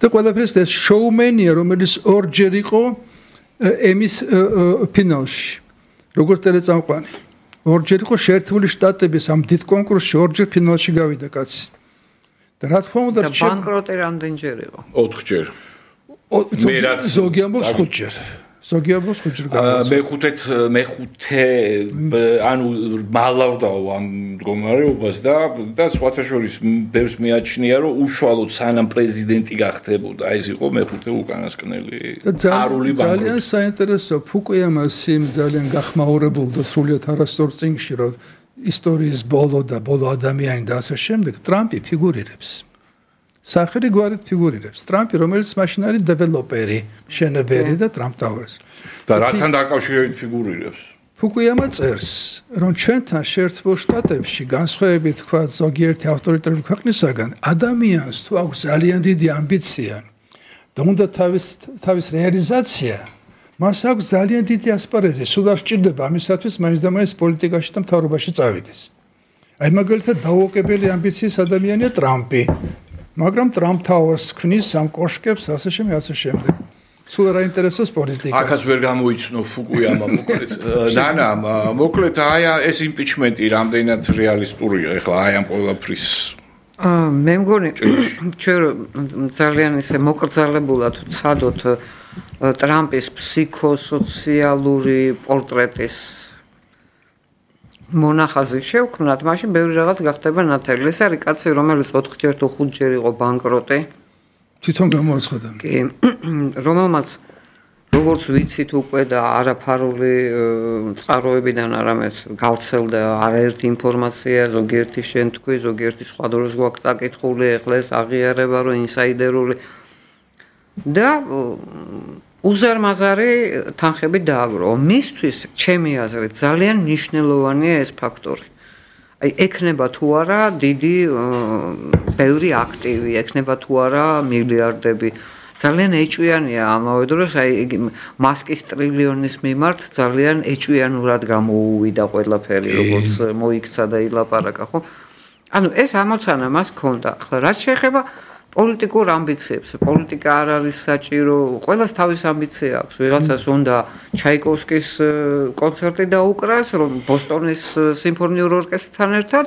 და ყველაფერს ეს შოუმენია, რომელიც ორჯერ იყო ემის ფინალში. როგორც ტელეწამყვანი. ორჯერ იყო შეერთებული შტატების ამ დიდ კონკურსში, ორჯერ ფინალში გავიდა კაცი. და რა თქმა უნდა, ბანკროტი რამდენჯერ იყო? 4 ჯერ. ზოგი ამბობს 5 ჯერ. ზოგი ამბობს 5 ჯერ გამოსა. მეხუთე ანუ მალავდაო ამ მდგომარეობას და სხვათა შორის ბევრს მიაჩნია, რომ უშუალოდ სანამ პრეზიდენტი გახდებოდა, ეს იყო მეხუთე უკანასკნელი. არული ბანკროტი. ძალიან საინტერესო, ფუკუიამას იმ ძალიან გახმაურებულ და სრულიად არასწორ წინგში, რომ ისტორიის ბოლო ადამიანი და ასე შემდეგ, ტრამპი ფიგურირებს. სახელი გვარით ფიგურირებს. ტრამპი, რომელიც მაშინ არის დეველოპერი, მშენებელი და ტრამპ ტაუერს. და რასთან დაკავშირებით ფიგურირებს? ფუკუიამა წერს, რომ ჩვენთან შეერთებულ შტატებში განსხვავებით თქვა ზოგიერთი ავტორიტარული ქვეყნისაგან, ადამიანს თუ აქვს ძალიან დიდი ამბიცია და უნდა თავის რეალიზაცია, მას აქვს ძალიან დიდი ასპარეზი, სულ არ სჭირდება ამისათვის მაინც და მაინც პოლიტიკაში და მთავრობაში წავიდეს. აი მაგალითად დაუოკებელი ამბიციის ადამიანია ტრამპი. მაგრამ ტრამპ ტაუერს ქმნის ამ კოშკებს ასე შემდეგ. სულ არ აინტერესებს პოლიტიკა. აქაც ვერ გამოიცნო ფუკუიამა მოკლედ. ნანა, მოკლედ აი ეს იმპიჩმენტი რამდენად რეალისტურია ახლა აი ამ ყველაფრის. მე მგონი ჩვენ ძალიან ისე მოკრძალებულად ვცადოთ ტრამპის ფსიქოსოციალური პორტრეტის მონახაზი შევქმნათ, მაშინ ბევრი რაღაც გახდება ნათელი. ეს არის კაცი, რომელიც 4 ჯერ თუ 5 ჯერ იყო ბანკროტი. თვითონ გამოაცხადა. კი, რომელმაც როგორც ვიცით უკვე და არაფარული წყაროებიდან არამედ გავრცელდა არაერთი ინფორმაცია, ზოგიერთი შენ თქვი, ზოგიერთი სხვა დროს გვაქვს წაკითხული, ეხლა ეს აღიარება რომ ინსაიდერული და უზარმაზარი თანხები დააგროვა. მისთვის, ჩემი აზრით, ძალიან მნიშვნელოვანია ეს ფაქტორი. აი, ექნება თუ არა დიდი ბევრი აქტივი, ექნება თუ არა მილიარდები. ძალიან ეჭვიანია ამავე დროს, აი, მასკის ტრილიონის მიმართ ძალიან ეჭვიანურად გამოუვიდა ყველაფერი, როგორც მოიქცა და ილაპარაკა, ხო? ანუ ეს ამოცანა მას ჰქონდა. ახლა რაც შეეხება პოლიტიკურ ამბიციებს, პოლიტიკა არ არის საჭირო, ყველას თავის ამბიცია აქვს. ვიღაცას უნდა ჩაიკოვსკის კონცერტი დაუკრას, რომ ბოსტონის სიმფონიურ ორკესტრთან ერთად,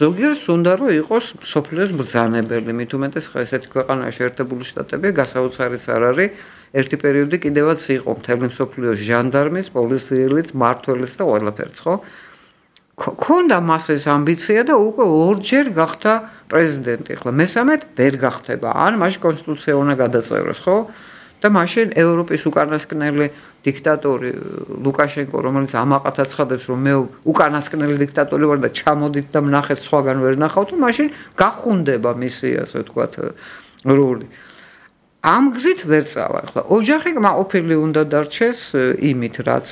ზოგიერთს უნდა რომ იყოს სოფლიოს ბრძანებელი, მით უმეტეს ხა ესეთი ქვეყანაა შეერთებული შტატები, გასაოცარიც არ არის. ერთი პერიოდი კიდევაც იყო მთელი სოფლიოს ჟანდარმის, პოლიციელიც, მმართველიც და ყველაფერიც, ხო? ქონდა მას ეს ამბიცია და უკვე ორჯერ გახდა პრეზიდენტი. ახლა მესამედ ვერ გახდება. ან მაშინ კონსტიტუცია უნდა გადაწეროს, ხო? და მაშინ ევროპის უკანასკნელი დიქტატორი ლუკაშენკო, რომელიც ამაყად აცხადებს, რომ მე უკანასკნელი დიქტატორი ვარ და ჩამოდით და ვნახეთ სხვაგან ვერ ნახავთ, ასე გახუნდება მისი, ასე ვთქვათ, როლი. ამ გზით ვერ წავა. ახლა ოჯახი კმაყოფილი უნდა დარჩეს იმით, რაც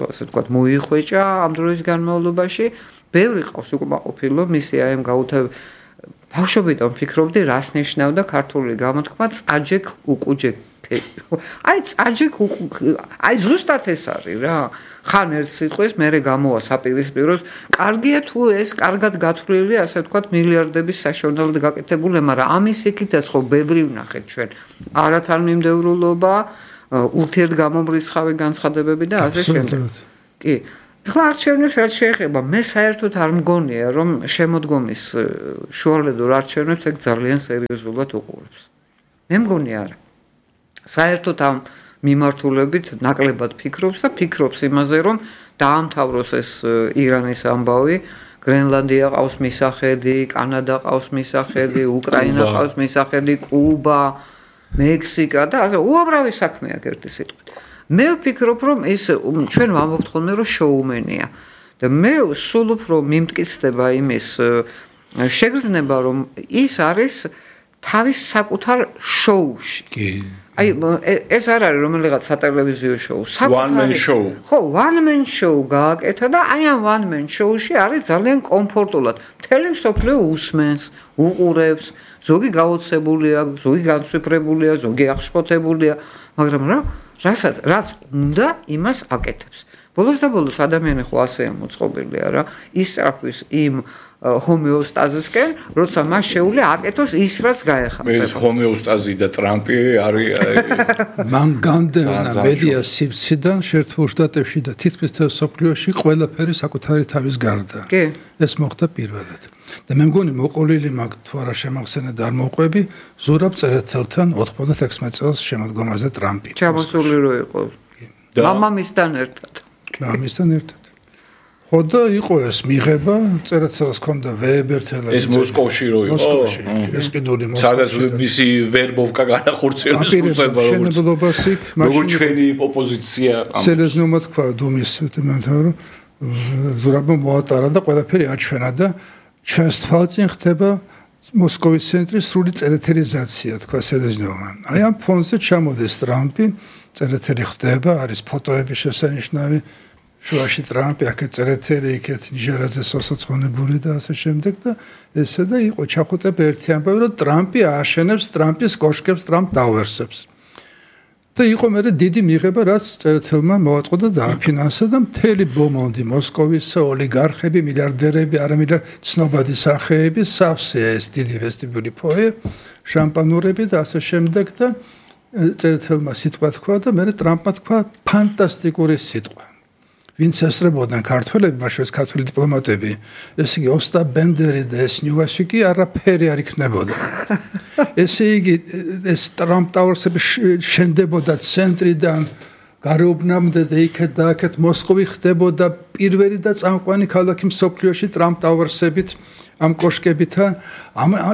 ასე ვთქვათ, მოიხვეჭა ამ დროის განმავლობაში ბევრი ყავს უკმაყოფილო მისი აი ამ გაუთავ ბავშვობიდან ფიქრობდი რას ნიშნავდა ქართული გამოთქმა წაჯექ უკუჯექ აი წაჯექ აი ზუსტად ეს არის რა ხან ერთ სიტყვის მერე გამოვა საპირისპიროს კარგია თუ ეს კარგად გათვლილი ასე ვთქვათ მილიარდების საშონელად გაკეთებული მაგრამ ამის იქითაც ხო ბევრი ვნახეთ ჩვენ არათანმიმდევრულობა ურთიერთგამომრიცხავი განცხადებები და ასე შემდეგ კი ახლა არჩევნებს რაც შეეხება მე საერთოდ არ მგონია რომ შემოდგომის შუალედურ არჩევნებს ეგ ძალიან სერიოზულად უყურებს მე მგონი არა საერთოდ ამ მიმართულებით ნაკლებად ფიქრობს და ფიქრობს იმაზე რომ დაამთავროს ეს ირანის ამბავი გრენლანდია ყავს მისახედი კანადა ყავს მისახედი უკრაინა ყავს მისახედი კუბა მექსიკა და ასე უამრავი საქმეა ერთი სიტყვით მე ვფიქრობ რომ ის ჩვენ ვამბობთ ხოლმე რომ შოუმენია და მე სულ უფრო მიმტკიცდება იმის შეგრძნება რომ ის არის თავის საკუთარ შოუში კი აი ეს არ არის რომელიღაც სატელევიზიო შოუ one man show ხო one man show გააკეთა და აი ამ one man show-ში არის ძალიან კომფორტულად მთელი მსოფლიო უსმენს უყურებს ზოგი გაოცებულია ზოგი განსვიფრებულია ზოგი აღშფოთებულია მაგრამ რაც უნდა იმას აკეთებს ბოლოს და ბოლოს ადამიანი ხო ასეა მოწყობილია რა ისწრაფვის იმ ჰომეოსტაზისკენ, როცა მას შეუძლია აკეთოს ის, რაც გაეხმარება. ეს ჰომეოსტაზი და ტრამპი არის მან განდევნა მედია სივრციდან შეერთებულ შტატებში და თითქმის მთელ მსოფლიოში ყველაფერი საკუთარი თავის გარდა. კი. ეს მოხდა პირველად. და მე მგონი მოყოლილი მაგ თუ არა შემახსენე და არ მოყვები ზურაბ წერეთელთან 96 წელს შემოდგომაზე ტრამპი. ჩამოსული რო იყო. მამამისთან ერთად. მამამისთან ერთად. ხოდა იყო ეს მიღება, წერეთელს ჰქონდა ვეებერთელა. ეს მოსკოვში რო იყო. მოსკოვში. ეს კიდური მოსკოვში. სადაც მისი ვერბოვკა განახორციელეს უწება როგორც როგორც ჩვენი ოპოზიცია. სერიოზულად თქვა დუმის მეთაური ზურაბმა მოატარა და ყველაფერი აჩვენა და ჩვენს თვალწინ ხდება მოსკოვის ცენტრის სრული წერეთელიზაცია, თქვა სერიოზულმა. აი ამ ფონზე ჩამოდის ტრამპი, წერეთელი ხდება, არის ფოტოები შესანიშნავი. შუაში ტრამპი აქეთ წერეთელი, იქეთ ნიჟარაძე სოციალისტური და ასე შემდეგ და ესე და იყო ჩახუტება ერთი ამბავი, რომ ტრამპი ააშენებს ტრამპის კოშკებს, ტრამპ დაუერსებს. და იყო მე დიდი მიღება, რაც წერეთელმა მოაწყო და დააფინანსა და მთელი ბომონდი მოსკოვის ოლიგარხები, მილიარდერები, ცნობადი სახეები, სავსეა ეს დიდი ვესტიბიული ფოე, შამპანურები და ასე შემდეგ და წერეთელმა სიტყვა თქვა და მე ტრამპმა თქვა ფანტასტიკური სიტყვა. ვინც ესწრებოდნენ ქართველები, მაშინ ეს ქართველი დიპლომატები, ესე იგი ოსტა ბენდერი და ეს ნიუასიკი არაფერი არ იქნებოდა. ესე იგი ეს ტრამპ ტაუერსები შენდებოდა ცენტრიდან გარეუბნამდე და იქეთ და აქეთ მოსკოვი ხდებოდა პირველი და წამყვანი ქალაქი მსოფლიოში ტრამპ ტაუერსებით ამ კოშკებითა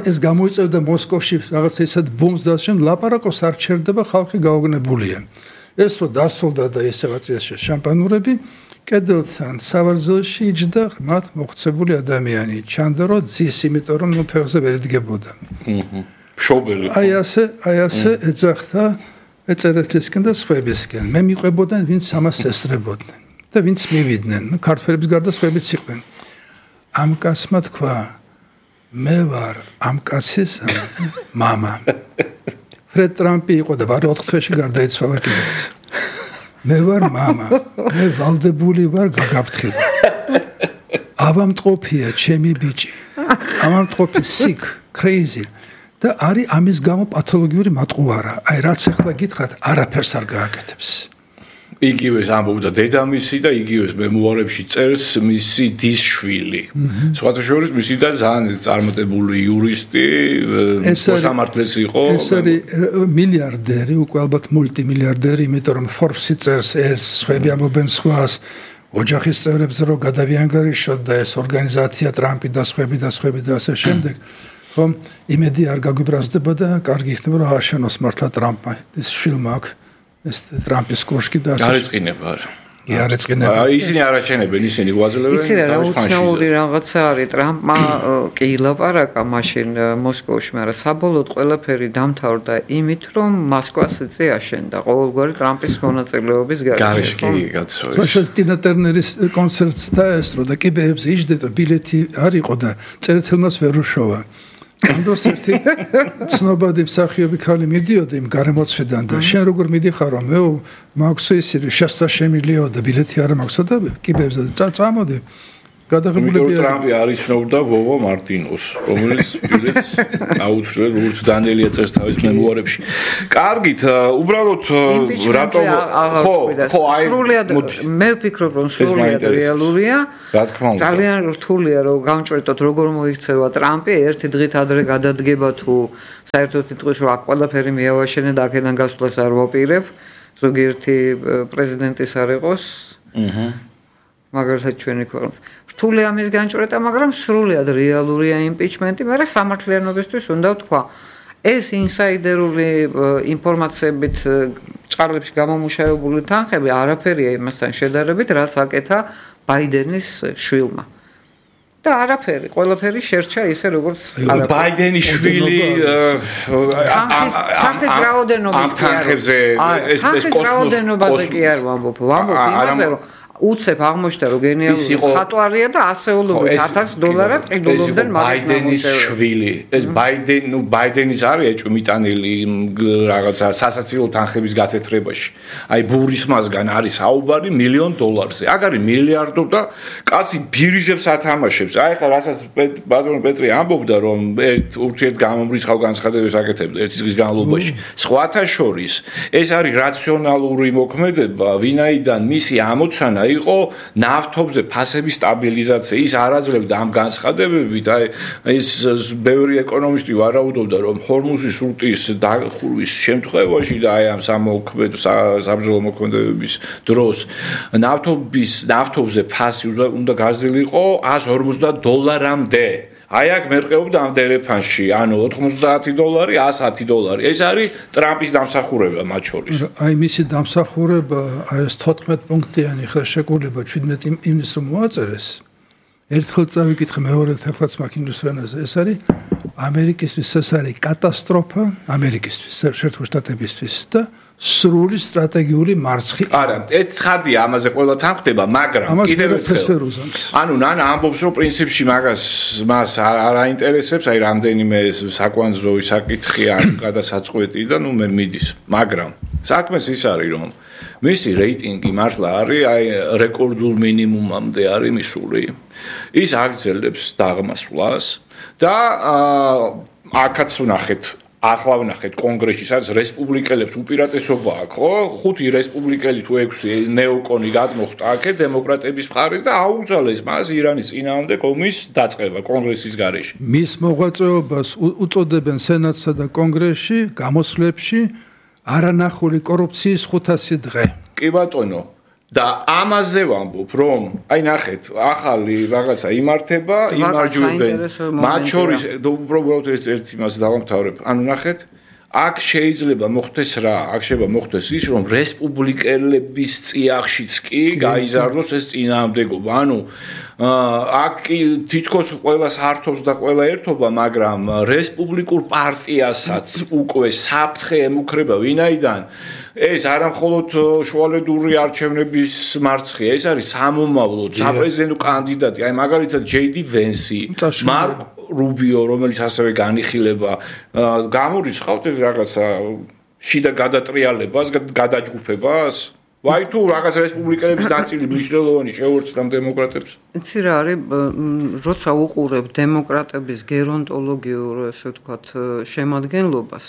ეს გამოიწევდა მოსკოვში რაღაცა ისეთ ბომს და შენ ლაპარაკოს არ ჩერდება ხალხი გაოგნებულია. ეს რო დასრულდა და ესევაციაში შამპანურები კედელთან სავარძელში იჯდა მათ მოხცებული ადამიანი ჩანდა რომ ძის იმიტომ რომ ნუ ფეხზე ვერ იდგებოდა. შობელი. აი ასე ეძახდა ეწერეთისკენ და სხვებისკენ. მე მიყვებოდან ვინც ამას ესწრებოდნენ და ვინც მივიდნენ. ქართველების გარდა სხვებიც იყვნენ. ამ კაცმა თქვა მე ვარ ამ კაცის მამა. ფრედ ტრამპი იყო და ვარ 4 თვეში გარდაიცვალა კიდეც. მე ვარ მამა, მე ვალდებული ვარ გაგაფრთხილდა. ავამტყოფია ჩემი ბიჭი. ავამტყოფი sick, crazy და არის ამის გამო პათოლოგიური მატყუარა. აი რაც ახლა გითხრათ, არაფერს არ გააკეთებს. იგივეს ამბობდა დედამისი და იგივეს მემუარებში წერს მისი დის შვილი. სხვათა შორის მისი და ძალიან წარმატებული იურისტი, მოსამართლეს იყო. ეს არის მილიარდერი, უკვე ალბათ მულტიმილიარდერი, იმიტომ რომ Forbes-ი წერს ერთს, სხვები ამბობენ სხვას, ოჯახის წევრებს რომ გადავიანგარიშოთ და ეს ორგანიზაცია ტრამპი და სხვები და ასე შემდეგ. ხომ იმედი არ გაგვიბრაზდება და კარგი იქნება რომ ააშენოს მართლა ტრამპმა ეს შვილმა აქვს ეს ტრამპის კოშკი და ასე. გარეწყინება არა. კი არ ეწყინება. ისინი არ აჩენებენ, ისინი გვაძლევენ. იცი რა, უცნაური რაღაცა არის ტრამპმა კი ილაპარაკა მაშინ მოსკოვში, მაგრამ საბოლოოდ ყველაფერი დამთავრდა იმით, რომ მოსკოვს იწე აშენდა ყოველგვარი ტრამპის მონაწილეობის გარეშე. კი, გაცხოვე. საშუალო ტინა ტერნერის კონცერტს დაესწრო და კიბეებზე იჯდეთ, რომ ბილეთი არ იყო და წერეთელმაც ვერ უშოვა. ანდროს ერთი ცნობადი მსახიობი ქალი მიდიოდა იმ გარემოცვიდან და შენ როგორ მიდიხარო მე მაქვს ისე შეშთა შემილიო და ბილეთი არ მაქვს და კიბებზე წამოდი გადაღებულები ტრამპი არიცნობდა ვოვო მარტინოს რომელიც ბილეთს აუცილებლად როგორც დანელია წერს თავის მემუარებში კარგით უბრალოდ რატომ ხო აი მე ვფიქრობ რომ სრულიად რეალურია რა თქმა უნდა ძალიან რთულია რომ გამჭვირთოთ როგორ მოიქცევა ტრამპი ერთი დღით ადრე გადადგება თუ საერთოდ იტყვის რომ აქ ყველაფერი მეავაშენე და აქედან გასვლას არ ვაპირებ ზოგიერთი პრეზიდენტის არ იყოს მაგალითად ჩვენი ქვეყნის რთულია ამის განჭვრეტა, მაგრამ სრულიად რეალურია იმპიჩმენტი, მაგრამ სამართლიანობისთვის უნდა ვთქვა, ეს ინსაიდერული ინფორმაციებით ჭარლებში გამომუშავებული თანხები არაფერია იმასთან შედარებით, რაც აკეთა ბაიდენის შვილმა. და არაფერი, ყველაფერი შერჩა ისე როგორც ბაიდენის შვილი თანხის რაოდენობით კი არის. ეს კოსმოსზე კი არ ვამბობ იმაზე რომ უცებ აღმოჩნდა რომ გენიალური ხატვარია და ასეულობით $1000 ყიდულობდნენ ბაიდენის შვილი. ეს ბაიდენის არის ეჭვმიტანილი რაღაცა სასაცილო თანხების გათეთრებაში. აი ბურის მასგან არის საუბარი $1,000,000-ზე. აქ არის მილიარდო და კაცი ბირჟებს ათამაშებს. აი ხა რასაც ბატონო პეტრი ამბობდა რომ ურთიერთ გამომრიცხავ განცხადებებს აკეთებდა ერთი წლის განმავლობაში. სხვათა შორის ეს არის რაციონალური მოქმედება, ვინაიდან მისი ამოცანა იყო ნავთობზე ფასების სტაბილიზაცია. ის არ აძლევდა ამ განცხადებებით, აი ეს ბევრი ეკონომისტი ვარაუდობდა, რომ ჰორმუზის სრუტის დახურვის შემთხვევაში და აი ამ საბრძოლო მოქმედებების დროს ნავთობზე ფასი უნდა გაზრდილიყო $150-მდე. აი აქ მერყეობდა ამ დერეფანში, ანუ $90, $110. ეს არის ტრამპის დამსახურება მათ შორის. აი მისი დამსახურება, აი ეს 14 პუნქტიანი ხელშეკრულება 17 იმის რომ მოაწერეს. ერთხელ წავიკითხე მეორედ ახლაც მაკინდუს რენაზე. ეს არის ამერიკისთვის ეს არის კატასტროფა, ამერიკისთვის, შეერთებული შტატებისთვის და სრული სტრატეგიული მარცხი. არა, ეს ცხადია, ამაზე ყველა თანხდება, მაგრამ კიდევ ერთხელ. ანუ ნანა ამბობს, რომ პრინციპში მას არ აინტერესებს, აი რამდენიმე საკვანძო საკითხი არ გადასაწყვეტი და ნუ მე მიდის. მაგრამ საქმეს ის არის, რომ მისი რეიტინგი მართლა არის აი რეკორდულ მინიმუმამდე არის მისული. ის აგრძელებს დაღმასვლას და აქაც ვნახეთ ახლა ვნახეთ კონგრესში, სადაც რესპუბლიკელებს უპირატესობა აქვს, ხო? 5 რესპუბლიკელი თუ 6 ნეოკონი გადმოხტა აქეთ დემოკრატების მხარეს და აუძალეს მას ირანის წინააღმდეგ ომის დაწყება კონგრესის გარეშე. მის მოღვაწეობას უწოდებენ სენატსა და კონგრესში გამოსვლებში არანახული კორუფციის 500 დღე. კი ბატონო. და ამაზე ვამბობ, რომ აი ნახეთ, ახალი რაღაცა იმართება, იმარჯვებენ. მათ შორის უბრალოდ ერთი მას დავამთავრებ. ანუ ნახეთ, აქ შეიძლება მოხდეს რა? აქ შეიძლება მოხდეს ის, რომ რესპუბლიკელების წიაღშიც კი გაიზარდოს ეს წინააღმდეგობა. ანუ აქ თითქოს ყველა საერთოს და ყველა ერთობა, მაგრამ რესპუბლიკურ პარტიასაც უკვე საფრთხე ემუქრება, ვინაიდან ეს არა მხოლოდ შუალედური არჩევნების მარცხია, ეს არის სამომავლო საპრეზიდენტო კანდიდატი, აი მაგალითად JD Vance, მარკ რუბიო, რომელიც ასევე განიხილება, გამორიცხავთ რაღაცა შიდა გადატრიალებას, გადაჯგუფებას. ვაი თუ რაღაც რესპუბლიკელების ნაწილი მნიშვნელოვანი შეუერთდა დემოკრატებს. იცი რა არის, როცა უყურებ დემოკრატების გერონტოლოგიურ, ესე ვთქვათ, შემადგენლობას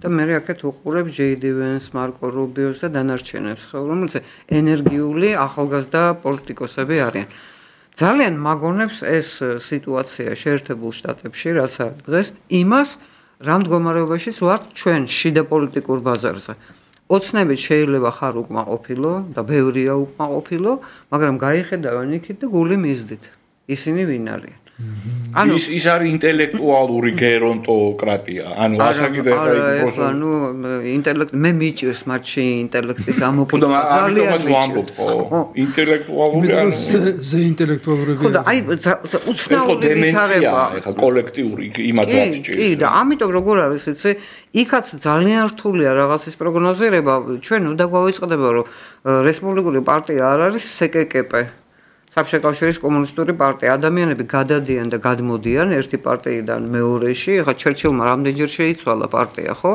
და მე აქეთ უყურებ JD Vance, მარკო რუბიოს და დანარჩენებს, რომელთაც ენერგიული ახალგაზრდა პოლიტიკოსები არიან. ძალიან მაგონებს ეს სიტუაცია შეერთებულ შტატებში, რაც არის დღეს, იმას რა მდგომარეობაშიც ვართ ჩვენ შიდა პოლიტიკურ ბაზარზე. ოცნებით შეიძლება ხარ უკმაყოფილო და ბევრია უკმაყოფილო, მაგრამ გაიხედავენ იქით და გული მისდით. ისინი ვინ არიან? ის არის ინტელექტუალური გერონტოკრატია. ანუ ასაკიდე ხა ინტელექტ მე მიჭირს მათში ინტელექტის ამოკითხვა ძალიან მიჭირს. ინტელექტუალური ანუ ზე ინტელექტუალური ხო და აი უცნაური ვითარება ხა კოლექტიური იმათ რაც ჭირს. კი და ამიტომ როგორ არის იცი იქაც ძალიან რთულია რაღაცის პროგნოზირება ჩვენ უნდა გვავიწყდება რომ რესპუბლიკური პარტია არ არის სკკპ საბჭოთა კავშირის კომუნისტური პარტია ადამიანები გადადიან და გადმოდიან ერთი პარტიიდან მეორეში ხა ჩერჩილმა რამდენჯერ შეიცვალა პარტია ხო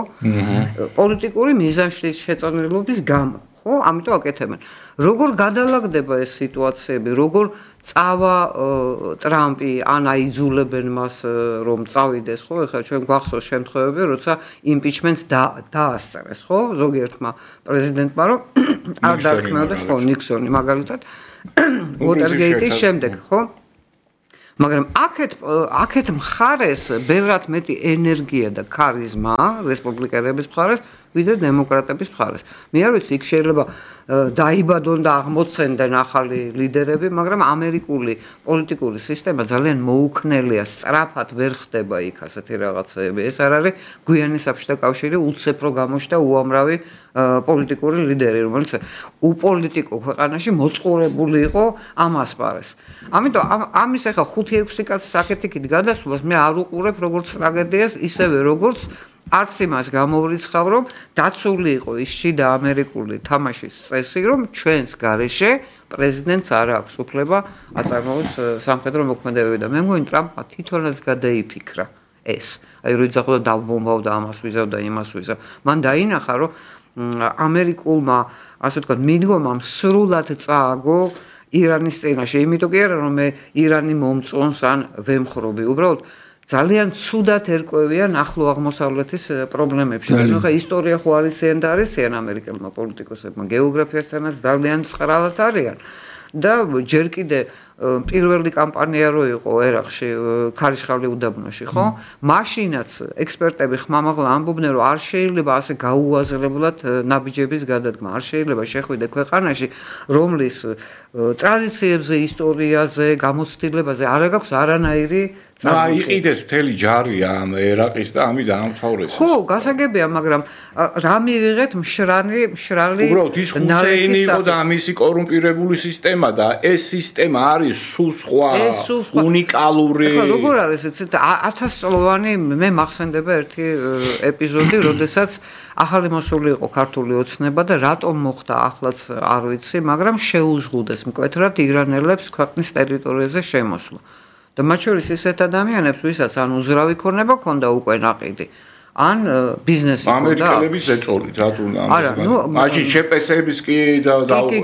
პოლიტიკური მიზანშლის შეწონილობის გამო ხო ამიტომ აკეთებენ როგორ გადალაგდება ეს სიტუაციები როგორ წავა ტრამპი ან აიძულებენ მას რომ წავიდეს ხო ეხლა ჩვენ გვახსოვს შემთხვევები როცა იმპიჩმენტს დაასწრეს ხო ზოგიერთმა პრეზიდენტმა რომ არ დარქმეოდა ხო ნიქსონი მაგალითად ვოტერგეიტის შემდეგ ხო მაგრამ აქეთ მხარეს ბევრად მეტი ენერგია და ქარიზმა რესპუბლიკელების მხარეს ვიდრე დემოკრატების მხარეს მე არ ვიცი იქ შეიძლება დაიბადონ და აღმოცენდნენ ახალი ლიდერები მაგრამ ამერიკული პოლიტიკური სისტემა ძალიან მოუქნელია სწრაფად ვერ ხდება იქ ასეთი რაღაცები ეს არ არის გვიანი საბჭოთა კავშირი უცებრო გამოჩნდა უამრავი პოლიტიკური ლიდერი რომელიც უპოლიტიკო ქვეყანაში მოწყურებული იყო ამ ასპარეს ამიტომ ამის ახლა 5-6 კაცის აქეთ-იქით გადასვლას მე არ უყურებ როგორც ტრაგედიას ისევე როგორც არც იმას გამოვრიცხავ რომ დაცული იყო ის შიდა ამერიკული თამაშის წესი რომ ჩვენს გარეშე პრეზიდენტს არ აქვს უფლება აწარმოოს სამხედრო მოქმედებები და მე მგონი ტრამპმა თვითონაც გადაიფიქრა ეს აი რო იძახოდა დავბომბავდა ამას ვიზავდა იმას ვიზავ მან დაინახა რომ ამერიკულმა ასე ვთქვათ მიდგომამ სრულად წააგო ირანის წინაშე იმიტომ კი არა რომ მე ირანი მომწონს ან ვემხრობი უბრალოდ ძალიან ცუდად ერკვევიან ახლო აღმოსავლეთის პრობლემებში. ანუ ხა ისტორია ხო არისიან და არისიან ამერიკელმა პოლიტიკოსებმა, გეოგრაფიასთანაც ძალიან წყრალად არიან. და ჯერ კიდე პირველი კამპანია რო იყო ერაყში, ქარიშხალი უდაბნოში, ხო? მაშინაც ექსპერტები ხმამაღლა ამბობდნენ, რომ არ შეიძლება ასე გაუაზრებლად ნაბიჯების გადადგმა. არ შეიძლება შეხვიდე ქვეყანაში, რომლის ტრადიციებზე, ისტორიაზე, გამოცდილებაზე არ აქვს არანაირი იყიდეს მთელი ჯარი ამ ერაყის და ამი დაამთავრეს. ხო, გასაგებია, მაგრამ რა მივიღეთ მშრალი უბრალოდ ის ჰუსეინი იყო და ამისი კორუმპირებული სისტემა და ეს სისტემა არის სულ სხვა უნიკალური. ხო, როგორ არის იცით 1000 წლოვანი მე მახსენდება ერთი ეპიზოდი, როდესაც ახალი მოსული იყო ქართული ოცნება და რატომ მოხდა ახლაც არ ვიცი, მაგრამ შეუზღუდეს მკვეთრად ირანელებს ქვეყნის ტერიტორიაზე შემოსვლა. და მათ შორის ისეთ ადამიანებს, ვისაც ან უზრავი ქონება ქონდა უკვე ნაყიდი, ან ბიზნესი ქონდა. ამერიკელების ეწოლით, რატო მაშინ შეპესების კი და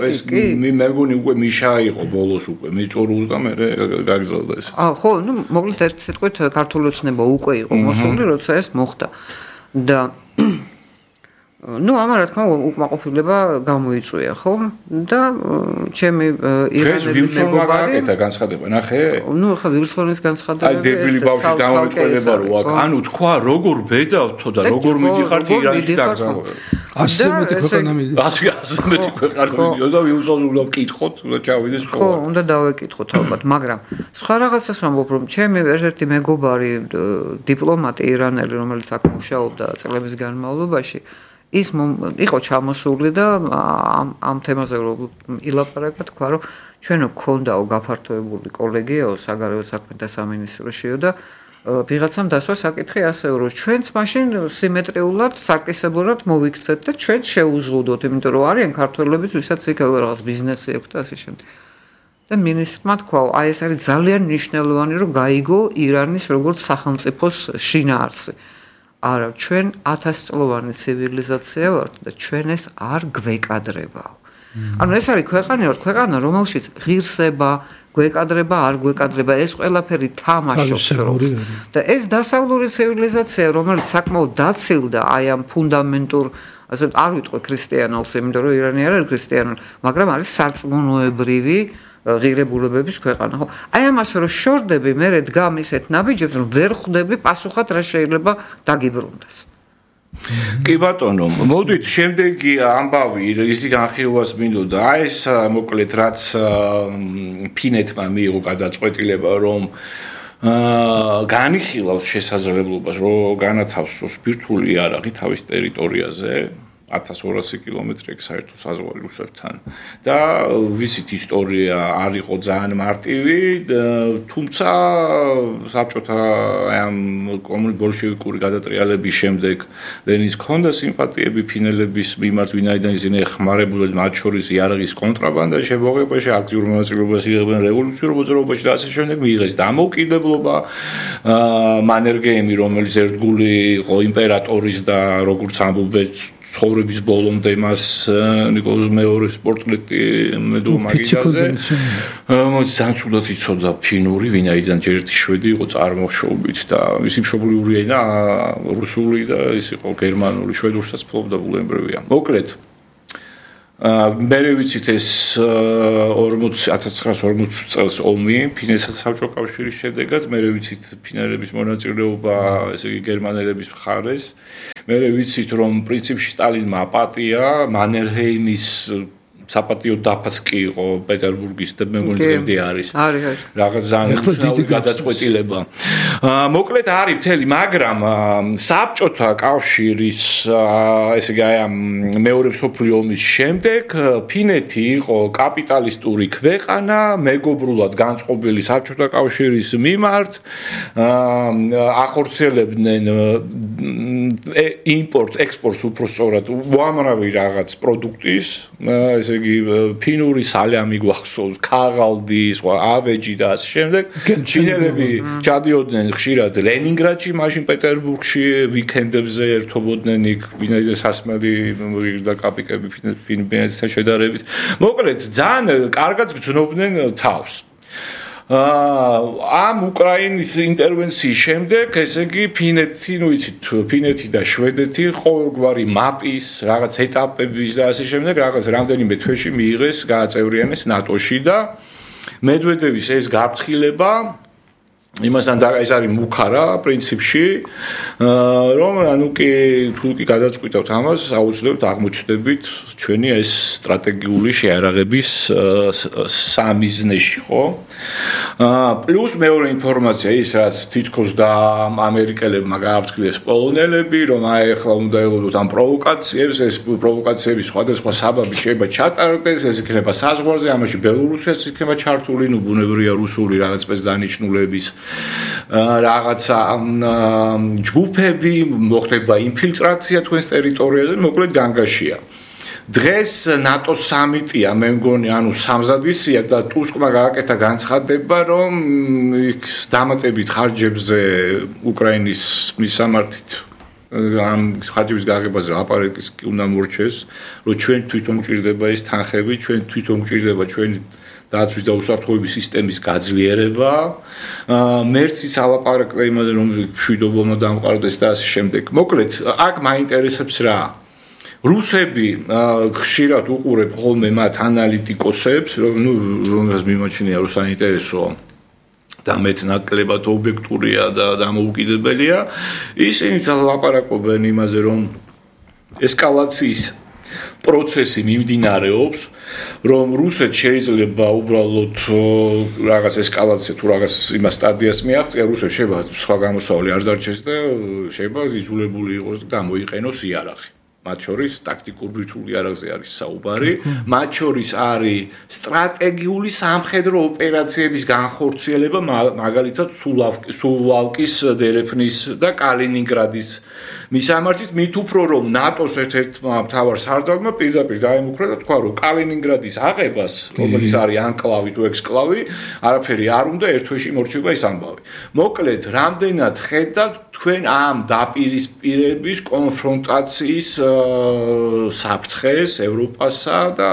ეს მე მეგონი უკვე მიშა იყო ბოლოს უკვე მიწორულს და მე გაგზავნა ეს. ხო, მოკლედ ერთ სიტყვით ქართული ოცნება უკვე იყო მოსული, როცა ეს მოხდა. და ამან რა თქმა უნდა უკმაყოფილება გამოიწვია, ხო? და ჩემი ირანელი მეგობარი და განცხადება, ნახე? ხა ვირცხონის განცხადება აი დებილი ბავშვი დამოწმება რო აქ, ანუ თქვა როგორ ბედავთო და როგორ მიდიხართ ირანში დაგზავნებულ. ასე მეტი ქვეყანა მიდის. ასე მეტი ქვეყანა მიდის და ვიუსავს უნდა ვკითხოთ, უნდა ჩავიდეს ხო? ხო, უნდა დავეკითხოთ ალბათ, მაგრამ სხვა რაღაცას ვამბობ, რომ ჩემი ერთ-ერთი მეგობარი დიპლომატი ირანელი, რომელიც აქ მუშაობდა წლების განმავლობაში ის იყო ჩამოსული და ამ თემაზე რომ ილაპარაკა თქვა რომ ჩვენო გქონდაო გაფართოებული კოლეგიაო საგარეო საქმეთა სამინისტროშიო და ვიღაცამ დასვა საკითხი ასეო რომ ჩვენც მაშინ სიმეტრიულად საკისებლურად მოვიქცეთ და ჩვენ შეუზღუდოთ იმიტომ რომ არიან ქართველებიც ვისაც იქ რაღაც ბიზნესი აქვს და ასე შემდეგ და მინისტრმა თქვა აი ეს არის ძალიან მნიშვნელოვანი რომ გაიგო ირანის როგორც სახელმწიფოს შინაარსი არა, ჩვენ 1000 წლოვანი ცივილიზაცია ვართ და ჩვენ ეს არ გვეკადრებაო. ანუ ეს არის ქვეყანა, რომელშიც ღირსება, გვეკადრება, არ გვეკადრება, ეს ყველაფერი თამაშობს როლს. და ეს დასავლური ცივილიზაცია, რომელიც საკმაოდ დაცილდა აი ამ ფუნდამენტურ, ასე არ ვიტყვი ქრისტიანულს, იმიტომ რომ ირანი არ არის ქრისტიანული, მაგრამ არის სარწმუნოებრივი ღირებულებების ქვეყანა, ხო? აი ამას რომ შორდები, მე დგამ ისეთ ნაბიჯებს, რომ ვერ ხვდები პასუხად რა შეიძლება დაგიბრუნდეს. კი ბატონო, მოდით შემდეგი ამბავი, ისი განხილვას მინდოდა. აი ეს მოკლედ რაც ფინეთმა მიიღო გადაწყვეტილება, რომ განიხილავს შესაძლებლობას, რომ განათავსოს ბირთვული იარაღი თავის ტერიტორიაზე 1200 კილომეტრი საერთო საზღვარი რუსეთთან და ვიცით ისტორია არ იყო ძალიან მარტივი, თუმცა საბჭოთა ამ ბოლშევიკური გადატრიალების შემდეგ ლენინს ჰქონდა სიმპათიები ფინელების მიმართ, ვინაიდან ისინი ეხმარებოდნენ მათ შორის იარაღის კონტრაბანდას შემოღებაში, აქტიურ მონაწილეობას იღებდნენ რევოლუციურ მოძრაობაში და ასე შემდეგ, მიიღეს დამოუკიდებლობა, მანერგეიმი, რომელიც ერთგული იყო იმპერატორის და როგორც ამბობენ ცხოვრების ბოლომდე მას ნიკოლოზ მეორის პორტრეტი მედო მაგიდაზე ძალიან ცუდად იცოდა ფინური, ვინაიდან ჯერ ერთი შვედი იყო წარმოშობით და მისი მშობლიური ენა რუსული და ის იყო გერმანული, შვედურსაც ფლობდა ბულენბრივია. მოკლედ მე ვიცით ეს 1940 წელს ომი ფინეთის საბჭოთა კავშირის შედეგად, მე ვიცით ფინელების მონაწილეობა, ესე იგი გერმანელების მხარეს. მე ვიცით რომ პრინციპში სტალინმა აპატია, მანერჰეიმის საპატიო დაფაც კი იყო პეტერბურგის და მე მგონი დღემდე არის. რაღაც ძალიან უცნაური გადაწყვეტილება. მოკლედ არის მთელი, მაგრამ საბჭოთა კავშირის ესე იგი აი ამ მეორე მსოფლიო ომის შემდეგ ფინეთი იყო კაპიტალისტური ქვეყანა, მეგობრულად განწყობილი საბჭოთა კავშირის მიმართ, ახორციელებდნენ იმპორტს, ექსპორტს უფრო სწორად უამრავი რაღაც პროდუქტის, ესე იგი ფინური სალამი გვახსოვს, ქაღალდი, სხვა ავეჯი და ასე შემდეგ. ფინელები ჩადიოდნენ ხშირად ლენინგრადში, მაშინ პეტერბურგში ვიკენდებზე ერთობოდნენ იქ, ვინაიდან სასმელი და კაპიკები ფინეთთან შედარებით. მოკლედ, ძალიან კარგად გრძნობდნენ თავს. ამ უკრაინის ინტერვენციის შემდეგ, ესე იგი ფინეთი, ნუ იცით, ფინეთი და შვედეთი ყოველგვარი მაპის, რაღაც ეტაპების და ასე შემდეგ, რაღაც რამდენიმე თვეში მიიღეს, გააწევრიანეს ნატოში და მედვედევის ეს გაფრთხილება იმასთან და ეს არის მუხარა პრინციპში, რომ ანუ თუ კი გადაწყვიტავთ ამას, აუცილებლად აღმოჩნდებით ჩვენი ეს სტრატეგიული შეარაღების სამიზნეში, ხო? პლუს მეორე ინფორმაცია ის, რაც თითქოს და ამერიკელებმა გააფრთხილეს პოლონელები, რომ აი ახლა უნდა ელოდოთ ამ პროვოკაციებს, ეს პროვოკაციების სხვადასხვა საბაბი შეიძლება ჩატარდეს, ეს იქნება საზღვარზე, ამაში ბელორუსიაც იქნება ჩართული, ნუ ბუნებრივია რუსული რაღაც სპეცდანიშნულების რაღაცა ჯგუფები, მოხდება ინფილტრაცია თქვენს ტერიტორიაზე, მოკლედ განგაშია. დღეს ნატოს სამიტია, მე მგონი, ანუ სამზადისია და ტუსკმა გააკეთა განცხადება, რომ იქ დამატებით ხარჯებზე უკრაინის მისამართით ამ ხარჯების გაგებაზე ლაპარაკის კი უნდა მორჩეს, რომ ჩვენ თვითონ გვჭირდება ეს თანხები, ჩვენ თვითონ გვჭირდება ჩვენი დაცვის და უსაფრთხოების სისტემის გაძლიერება. მერცის ალაპარაკდა იმაზე, რომ მშვიდობობა დამყარდეს და ასე შემდეგ. მოკლედ, აქ მაინტერესებს რა? რუსები ხშირად უყურებ ხოლმე მათ ანალიტიკოსებს, რომელსაც მიმაჩნია რომ საინტერესოა და მეტნაკლებად ობიექტურია და დამოუკიდებელია, ისინი ლაპარაკობენ იმაზე, რომ ესკალაციის პროცესი მიმდინარეობს, რომ რუსეთს შეიძლება უბრალოდ რაღაც ესკალაცია თუ რაღაც იმას სტადიას მიაღწია, რუსეთს შეიძლება სხვა გამოსავალი არ დარჩეს და შეიძლება იზოლებული იყოს და გამოიყენოს იარაღი. მათ შორის ტაქტიკურ ბირთვულ იარაღზე არის საუბარი, მათ შორის არის სტრატეგიული სამხედრო ოპერაციების განხორციელება, მაგალითად სუვალკის, დერეფნის და კალინინგრადის მისამართით, მით უფრო რომ ნატოს ერთ-ერთმა მთავარ სარდალმა პირდაპირ დაემუქრა და თქვა, რომ კალინინგრადის აღებას, რომელიც არის ანკლავი თუ ექსკლავი, არაფერი არ უნდა ერთ თვეში მორჩება ის ამბავი. მოკლედ, რამდენად ხედავთ თქვენ ამ დაპირისპირების კონფრონტაციის საფრთხეს ევროპასა და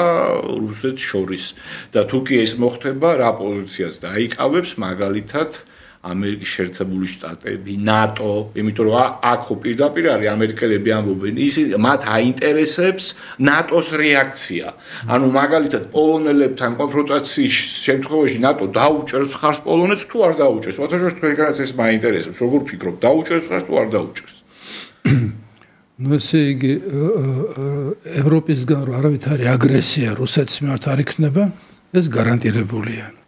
რუსეთს შორის და თუ კი ეს მოხდება, რა პოზიციას დაიკავებს მაგალითად ამერიკის შეერთებული შტატები, ნატო, იმიტომ რომ აქ ხო პირდაპირ არის ამერიკელები ამბობენ, ისინი მათ აინტერესებს ნატოს რეაქცია. ანუ მაგალითად პოლონელებთან კონფრონტაციის შემთხვევაში ნატო დაუჭერს ხარს პოლონეთს თუ არ დაუჭერს. ვთქვათ, თქვენგანაც ეს მაინტერესებს, როგორ ფიქრობ, დაუჭერს ხარს თუ არ დაუჭერს? ნუ ესე იგი ევროპისგან რომ არავითარი აგრესია რუსეთის მიმართ არ იქნება, ეს გარანტირებულია.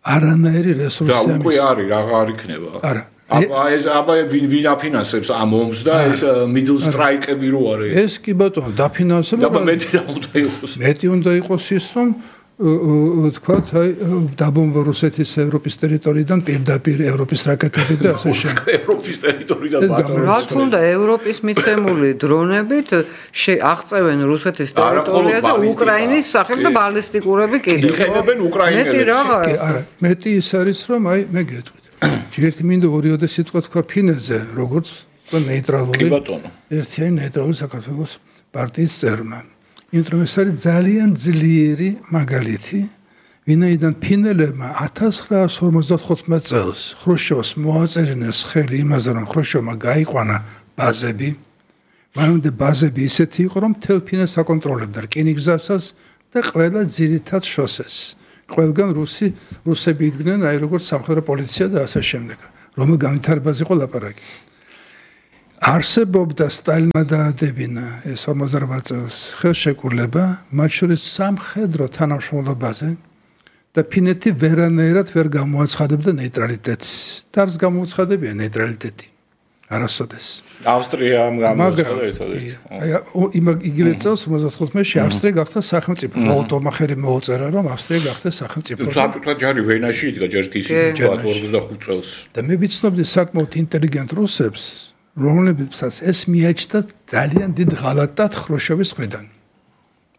არანაირი რესურსი და უკვე არის აღარ იქნება. არა. აბა ვინ აფინანსებს ამ ომს და ეს middle strike-ები რო არის. ეს კი ბატონო დაფინანსება. და მეტი რა უნდა იყოს. მეტი უნდა იყოს ის რომ თქვათ აი დაბომბვა რუსეთის ევროპის ტერიტორიიდან პირდაპირ ევროპის რაკეტები და ასე შემდეგ. ევროპის ტერიტორიიდან ბატონო. რა თქმა ევროპის მიცემული დრონებით აღწევენ რუსეთის ტერიტორიაზე უკრაინის სახელ და ბალისტიკურები კიდევ. იყენებენ უკრაინელებს. მეტი რაღაცა. არა, მეტი ის არის რომ აი მე გეტყვით. ერთი მინდა ორიოდე სიტყვა თქვა ფინეთზე, როგორც თქვა ნეიტრალური. კი ბატონო. ერთიანი ნეიტრალური საქართველოს პარტიის წევრმა. იმიტომ ეს არის ძალიან ძლიერი მაგალითი, ვინაიდან ფინელებმა 1955 წელს ხრუშჩოვს მოაწერინეს ხელი იმაზე, რომ ხრუშჩოვმა გაიყვანა ბაზები. მანამდე ბაზები ისეთი იყო, რომ მთელ ფინეთს აკონტროლებდა რკინიგზასაც და ყველა ძირითად შოსეს. ყველგან რუსები იდგნენ აი როგორც სამხედრო პოლიცია და ასე შემდეგ. რომელ განვითარებაზე იყო ლაპარაკი. არსებობდა სტალინმა დაადებინა ეს 58 წელს ხელშეკრულება, მათ შორის სამხედრო თანამშრომლობაზე და ფინეთი ვერანაირად ვერ გამოაცხადებდა ნეიტრალიტეტს. დარს გამოუცხადებია ნეიტრალიტეტი. არასოდეს. ავსტრიამ გამოაცხადა ერთადერთი. აი იგივე წელს 55-ში ავსტრია გახდა სახელმწიფო. მოლოტოვმა ხელი მოუწერა რომ ავსტრია გახდა სახელმწიფო. საბჭოთა ჯარი ვენაში იდგა ჯერ კი ისინი 45 წელს. და მე ვიცნობდი საკმაოდ ინტელიგენტ რუსებს, რომლებსაც ეს მიაჩნდა ძალიან დიდ ღალატად ხრუშჩოვის მხრიდან.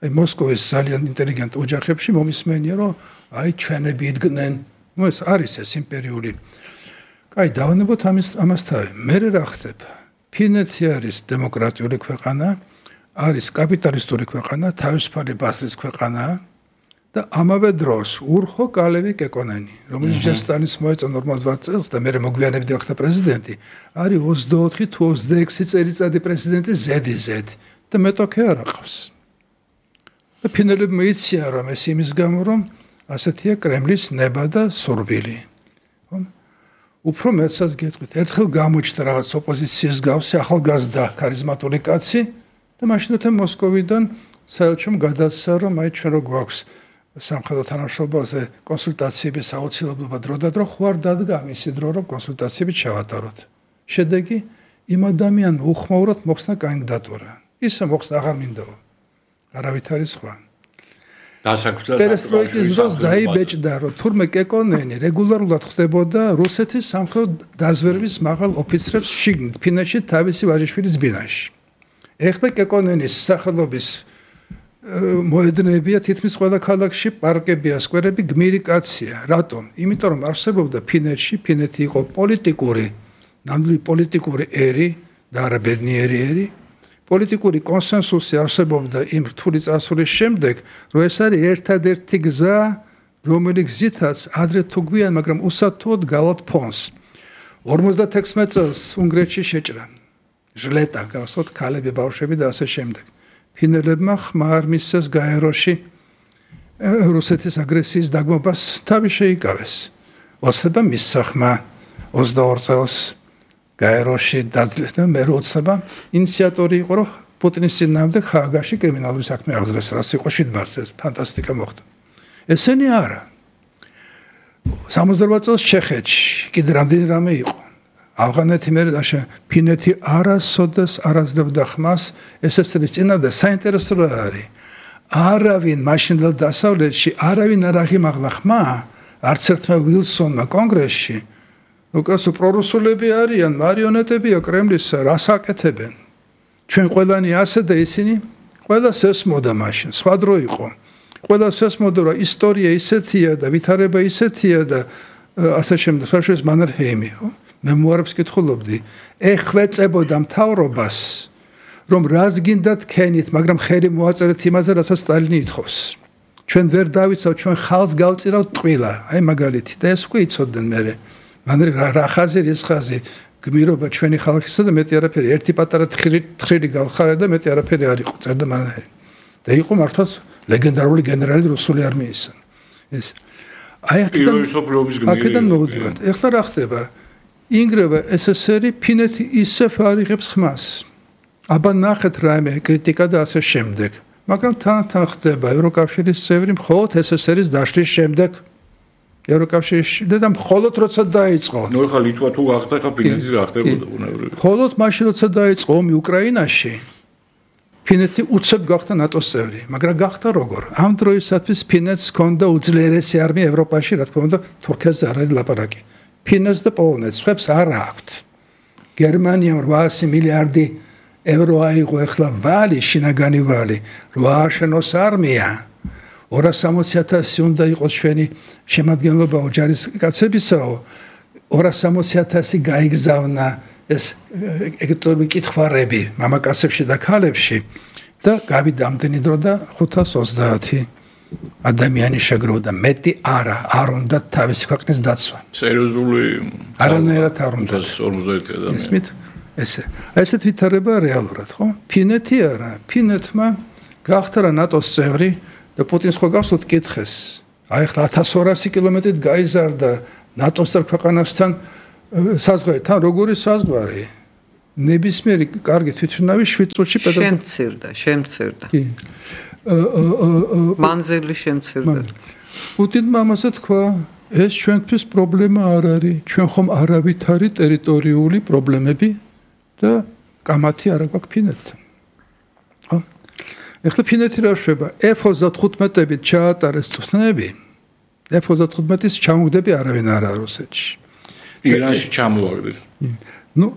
აი მოსკოვის ძალიან ინტელიგენტ ოჯახებში მომისმენია რომ აი ჩვენები იდგნენ. ნუ ეს არის ეს იმპერიული. აი დავანებოთ ამას თავი. მე რა ხდება? ფინეთი არის დემოკრატიული ქვეყანა, არის კაპიტალისტური ქვეყანა, თავისუფალი ბაზრის ქვეყანა და ამავე დროს ურხო კალევი კეკონენი, რომელიც ჯესტანის მოეწონა 48 წელს და მე მოგვიანებით გახდა პრეზიდენტი, არის 24 თუ 26 წელიწადი პრეზიდენტი ზედიზედ და მეტოქე არ აყავს. და ფინელებმა იციან რომ ეს იმის გამო რომ ასეთია კრემლის ნება და სურვილი. უფრო მეცაც გეტყვით, ერთხელ გამოჩნდა რაღაც ოპოზიციის გავსი ახალგაზრდა ქარიზმატული კაცი და მაშინათო მოსკოვიდან საელჩომ გადასცა რომ აი ჩვენ რო გვაქვს სამხედრო თანამშრომლობაზე კონსულტაციების აუცილებლობა დროდადრო ხوار დადგა მისი დრო რომ კონსულტაციები ჩავატაროთ. შედეგი იმ ადამიანმა უხმაურად მოხსნა კანდიდატურა. ისე მოხსნა აღარ მინდაო. არავითარი სხვა. პერესტროიკის დროს დაიბეჭდა რომ თურმე კეკონენი რეგულარულად ხდებოდა რუსეთის სამხედრო დაზვერვის მაღალ ოფიცრებს შიგნით ფინეთში თავისი ვაჟიშვილის ბინაში. ეხლა კეკონენის სახელობის მოედნებია თითქმის ყველა ქალაქში, პარკებია, სკვერები, გმირი კაცია. რატომ? იმიტომ რომ არსებობდა ფინეთში, ფინეთი იყო პოლიტიკური, ნამდვილი პოლიტიკური ერი და არა ბედნიერი ერი. პოლიტიკური კონსენსუსი არსებობდა იმ რთული წარსულის შემდეგ, რომ ეს არის ერთადერთი გზა, რომელიც გზითაც ადრე თუ გვიან, მაგრამ უსათუოდ გავალთ ფონს. 56 წელს უნგრეთში შეჭრა. ჟლეტა, გასვათ ქალები, ბავშვები და ასე შემდეგ. ფინელებმა ხმარ მისცეს გაეროში რუსეთის აგრესიის დაგმობას თავი შეიკავეს. ოცნება მისცახმა 22 წელს გაეროში დაძლეს და მე როცება ინიციატორი იყო რომ პუტინის წინააღმდეგ ჰააგაში კრიმინალური საქმე აღძრეს, რაც იყო 7 მარტს ეს ფანტასტიკა მოხდა. ესენი არა. 68 წელს ჩეხეთში კიდე რამდენი რამე იყო. ავღანეთი მე და ფინეთი არასოდეს არაძლებდა ხმას SSR-ის წინააღმდეგ საინტერესო რა არის. არავინ მაშინდელ დასავლეთში არავინ არ აღიმაღლა ხმა, არც ერთმა ვილსონმა კონგრესში. უკასო პრორუსულები არიან, მარიონეტებია კრემლისა, რას აკეთებენ? ჩვენ ყველანი ასე და ისინი ყველას ესმოდა მაშინ, სხვა დრო იყო. ყველას ესმოდა რომ ისტორია ისეთია და ვითარება ისეთია და ასე შემდეგ. სხვაშორის მანერჰეიმი, მემუარებს კითხულობდი. ეხლა წებოდა მთავრობას, რომ რას გინდათ ქენით, მაგრამ ხელი მოაწერეთ იმაზე, რასაც სტალინი ითხოვს. ჩვენ ვერ დავიცავთ, ჩვენ ხალხს გავწირავთ ტყილა. აი მაგალითი და ეს უკვე იცოდნენ მე. მან რა ხაზი ის ხაზი გმირობა ჩვენი ხალხისა და მეტი არაფერი ერთი პატარა თხრილი გავხარა და მეტი არაფერი არ იყო წერდა მან და იყო მართლაც ლეგენდარული გენერალი რუსული არმიისა ეს აი აქედან მოვიდივართ ეხლა რა ხდება ინგრევა SSR-ი ფინეთი ისე ფარიღებს ხმას აბა ნახეთ რაიმე კრიტიკა და ასე შემდეგ მაგრამ თან ხდება ევროკავშირის წევრი მხოლოდ SSR-ის დაშლის შემდეგ ევროკავშირში და მხოლოდ როცა დაიწყო. ნუ ხა ლიტვა თუ გახდა, ხა ფინეთი რა ხდებოდა უნებრივი. მხოლოდ მაშინ როცა დაიწყო ომი უკრაინაში, ფინეთი უცებ გახდა ნატოს წევრი, მაგრამ გახდა როგორ? ამ დროისათვის ფინეთს ჰქონდა უძლიერესი არმია ევროპაში, რა თქმა უნდა, თურქეთს არ არის ლაპარაკი. ფინეთს და პოლონეთს ხებს არ აქვთ. გერმანიამ 800 მილიარდი ევრო აიღო ახლა ვალი, შინაგანი ვალი, რა აღშენოს არმია. 260,000 უნდა იყოს ჩვენი შემადგენლობა ოჯახის კაცებისაო 260,000 გაიგზავნა ეს ეკონომიკური კითხვარები მამაკაცებში და ქალებში და გავიდა ამდენი დრო და 530 ადამიანი შეგროვდა მეტი არ უნდა თავისი ქვეყნის დაცვა სერიოზული არანაირად არ უნდა 50 ადამიანი ესმით ესეთ ვითარება რეალურად ხო ფინეთი არა ფინეთმა გახდა რა ნატოს წევრი და პუტინს ხო გახსოვთ კითხეს აი ხა 1200 კილომეტრით გაიზარდა ნატოს ქვეყანასთან საზღვარი თან როგორი საზღვარი ნებისმიერი კარგი თვითმფრინავი 7 წუთში შემცირდა კი მანძილი შემცირდა პუტინმა ამასაც თქვა ეს ჩვენთვის პრობლემა არ არის ჩვენ ხომ არავითარი ტერიტორიული პრობლემები და კამათი არ აქვს ფინეთთან ხო ეხლა ფინეთი რა შვება F-35-ებით ჩაატარეს წვნები F-35-ის ჩამოგდები არავინ არ არის რუსეთში ირანში ჩამოვარდეს ნუ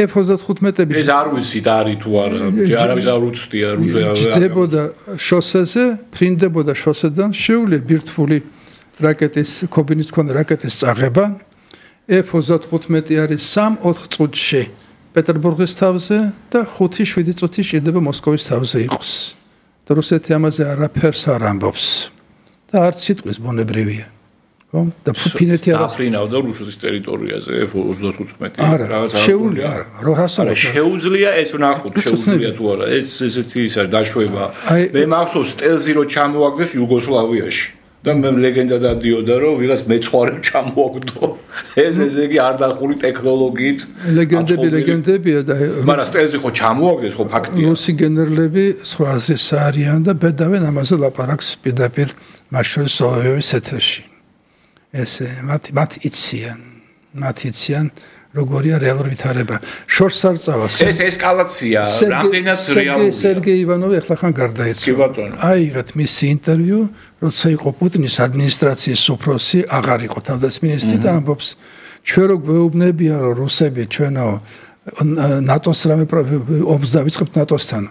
F-35-ები ეს არ ვიცით არის თუ არა არავის არ უცდია ჯდებოდა შოსეზე ფრინდებოდა შოსედან შეუძლია ბირთვული რაკეტის კობინის მქონე რაკეტის წაღება F-35 არის 3-4 წუთში პეტერბურგის თავზე და 5-7 წუთი შეიძლება მოსკოვის თავზე იყოს. და რუსეთი ამაზე არაფერს არ ამბობს. და არც სიტყვის ბუნებრივია. ხო? და ფინეთი არა აფრინავდა რუსეთის ტერიტორიაზე F-35 რაღაცა შეუძლია არა შეუძლია ეს ვნახოთ შეუძლია თუ არა ეს ესეთი ის არის დაშვება მე მახსოვს სტელზი რო ჩამოაგდეს იუგოსლავიაში და მე ლეგენდა დადიოდა რომ ვიღაც მეცხვარემ ჩამოაგდო ეს იგი არ დახური ტექნოლოგიით ლეგენდებია და მაგრამ სტელზი ხო ჩამოაგდეს ხო ფაქტია რუსი გენერლები სხვა აზრის არიან და ბედავენ ამაზე ლაპარაკს პირდაპირ მაშინ სოვიეტების ეთერში ესე მათ იციან როგორია რეალური ვითარება შორს არ წავს ეს ესკალაცია რამდენად რეალურია სერგეი ივანოვი ახლა ხან გარდაეცვალა აიღეთ მისი ინტერვიუ როცა იყო პუტინის ადმინისტრაციის უფროსი აღარ იყო თავდაცვის და ამბობს ჩვენ რო გვეუბნებიან რომ რუსები ჩვენო ნატოს რამე ომს დავიწყებთ ნატოსთან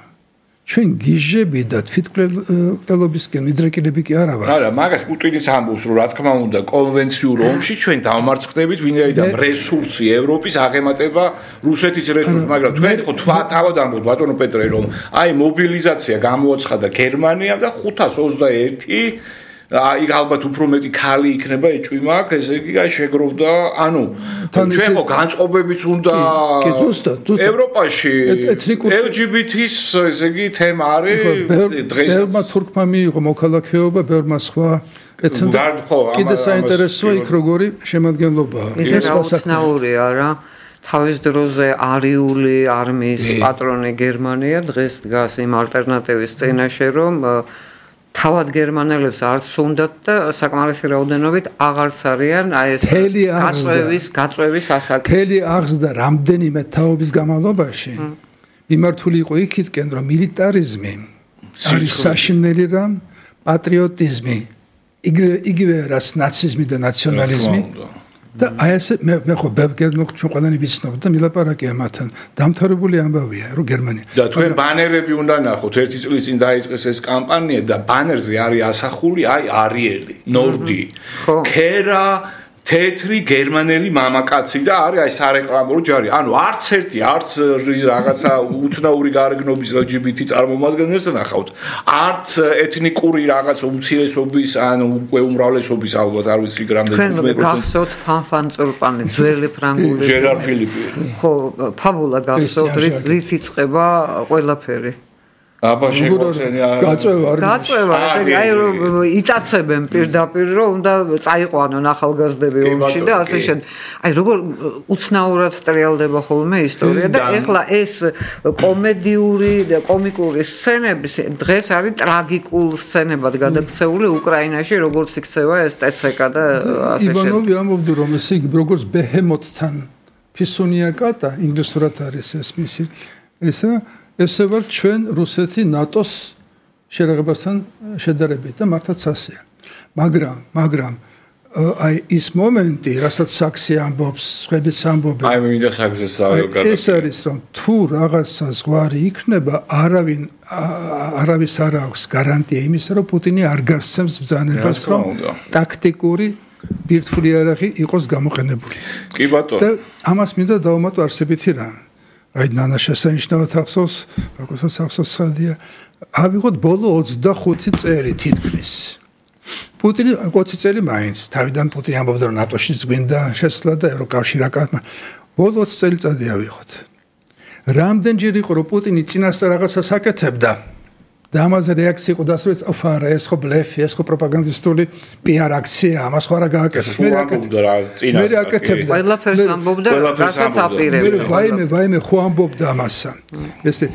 ჩვენ გიჟები და თვითმკვლელობისკენ მიდრეკილები კი არა ვარ. არა, მაგას პუტინის ამბობს, რომ რა თქმა უნდა, კონვენციურ ომში ჩვენ დავმარცხდებით ვინაიდან რესურსი ევროპის აღემატება რუსეთის რესურსს, მაგრამ თქვენ ხო თავად ამბობთ ბატონო პეტრე, რომ აი მობილიზაცია გამოაცხადა გერმანიამ და 521 აი ალბათ უფრო მეტი ქალი იქნება ეჭვი მაქვს, ესე იგი აი შეგროვდა, ანუ ჩვენ ხო განწყობებიც უნდა ევროპაში LGBT-ის ესე იგი თემა არის დღესაც. ბევრმა თურქმა მიიღო მოქალაქეობა, ბევრმა სხვა კიდე საინტერესოა იქ როგორი შემადგენლობაა. ეს აუცნაურია რა. თავის დროზე არიული არმიის პატრონი გერმანია დღეს დგას იმ ალტერნატივის წინაშე რომ თავად გერმანელებს არც უნდათ და საკმარისი რაოდენობით აღარც არიან აი ეს გაწვევის ასაკი. მთელი აღზრდა რამდენიმე თაობის განმავლობაში მიმართული იყო იქითკენ რომ მილიტარიზმი არის საშინელი რამ პატრიოტიზმი იგივე რაც ნაციზმი და ნაციონალიზმი და აი ესე მე ხო ბევრგერმო ჩვენ ყველანი ვიცნობთ და მილაპარაკია მათთან დამთავრებული ამბავია რომ გერმანია და თქვენ ბანერები უნდა ნახოთ ერთი წლის წინ დაიწყეს ეს კამპანია და ბანერზე არის ასახული აი არიელი ნორდი ქერა თეთრი გერმანელი მამაკაცი და არის აი სარეკლამო ჯარი ანუ არც ერთი არც რაღაცა უცნაური გარეგნობის LGBT წარმომადგენელს ნახავთ არც ეთნიკური რაღაც უმცირესობის ანუ უკვე უმრავლესობის ალბათ არ ვიცი რამდენი მე გახსოვთ ფანფან წულპანი ძველი ფრანგული ჟერარ ფილიპი ხო ფაბულა გახსოვთ რით იწყება ყველაფერი აბა შეგვაცენია გაწევა ესე იგი აი რომ იტაცებენ პირდაპირ რომ უნდა წაიყვანონ ახალგაზრდები ომში და ასე შემდეგ. აი როგორ უცნაურად ტრიალდება ხოლმე ისტორია და ეხლა ეს კომედიური და კომიკური სცენები დღეს არის ტრაგიკულ სცენებად გადაქცეული უკრაინაში, როგორც იქცევა ეს TCK და ასე შემდეგ. ივანოვი ამბობდა რომ ეს იგი როგორც ბეჰემოთთან ფისუნია კატა ინგლისურად არის ეს მისი ესე ვარ ჩვენ რუსეთი ნატოს შერაღებასთან შედარებით და მართლაც ასეა. მაგრამ აი ის მომენტი, რასაც საქსი ამბობს, ხვედიც ამბობენ. აი მინდა საქსის ზავი ეს არის რომ თუ რაღაცა ზღვარი იქნება, არავის არ აქვს გარანტია იმისა, რომ პუტინი არ გასცემს ბრძანებას, რომ ტაქტიკური ბირთვული იარაღი იყოს გამოყენებული. კი ბატონო. და ამას მინდა დავუმატო არსებითი რამ. აი ნანა შესანიშნავად ახსოვს, ბაკოსაც ახსოვს ხალდია. ავიღოთ ბოლო 25 წელი თითქმის. პუტინი 20 წელი მაინც თავიდან პუტინი ამბობდა რომ ნატოშიც გვინდა შესვლა და ევროკავშირი აკამა. ბოლო 20 წელიწადი ავიღოთ. რამდენჯერ იყო რომ პუტინი წინასწარ რაღაცას აკეთებდა და ამაზე რეაქცია იყო დასრულს აფარა ეს ხო ბლეფი, ეს ხო პროპაგანდისტული PR აქცია, ამას ხო არა გააკეთებს. მე აკეთებდა. ყველაფერს ამბობდა, რასაც აპირებდა. მე ვაიმე ხო ამბობდა ამასა. ესე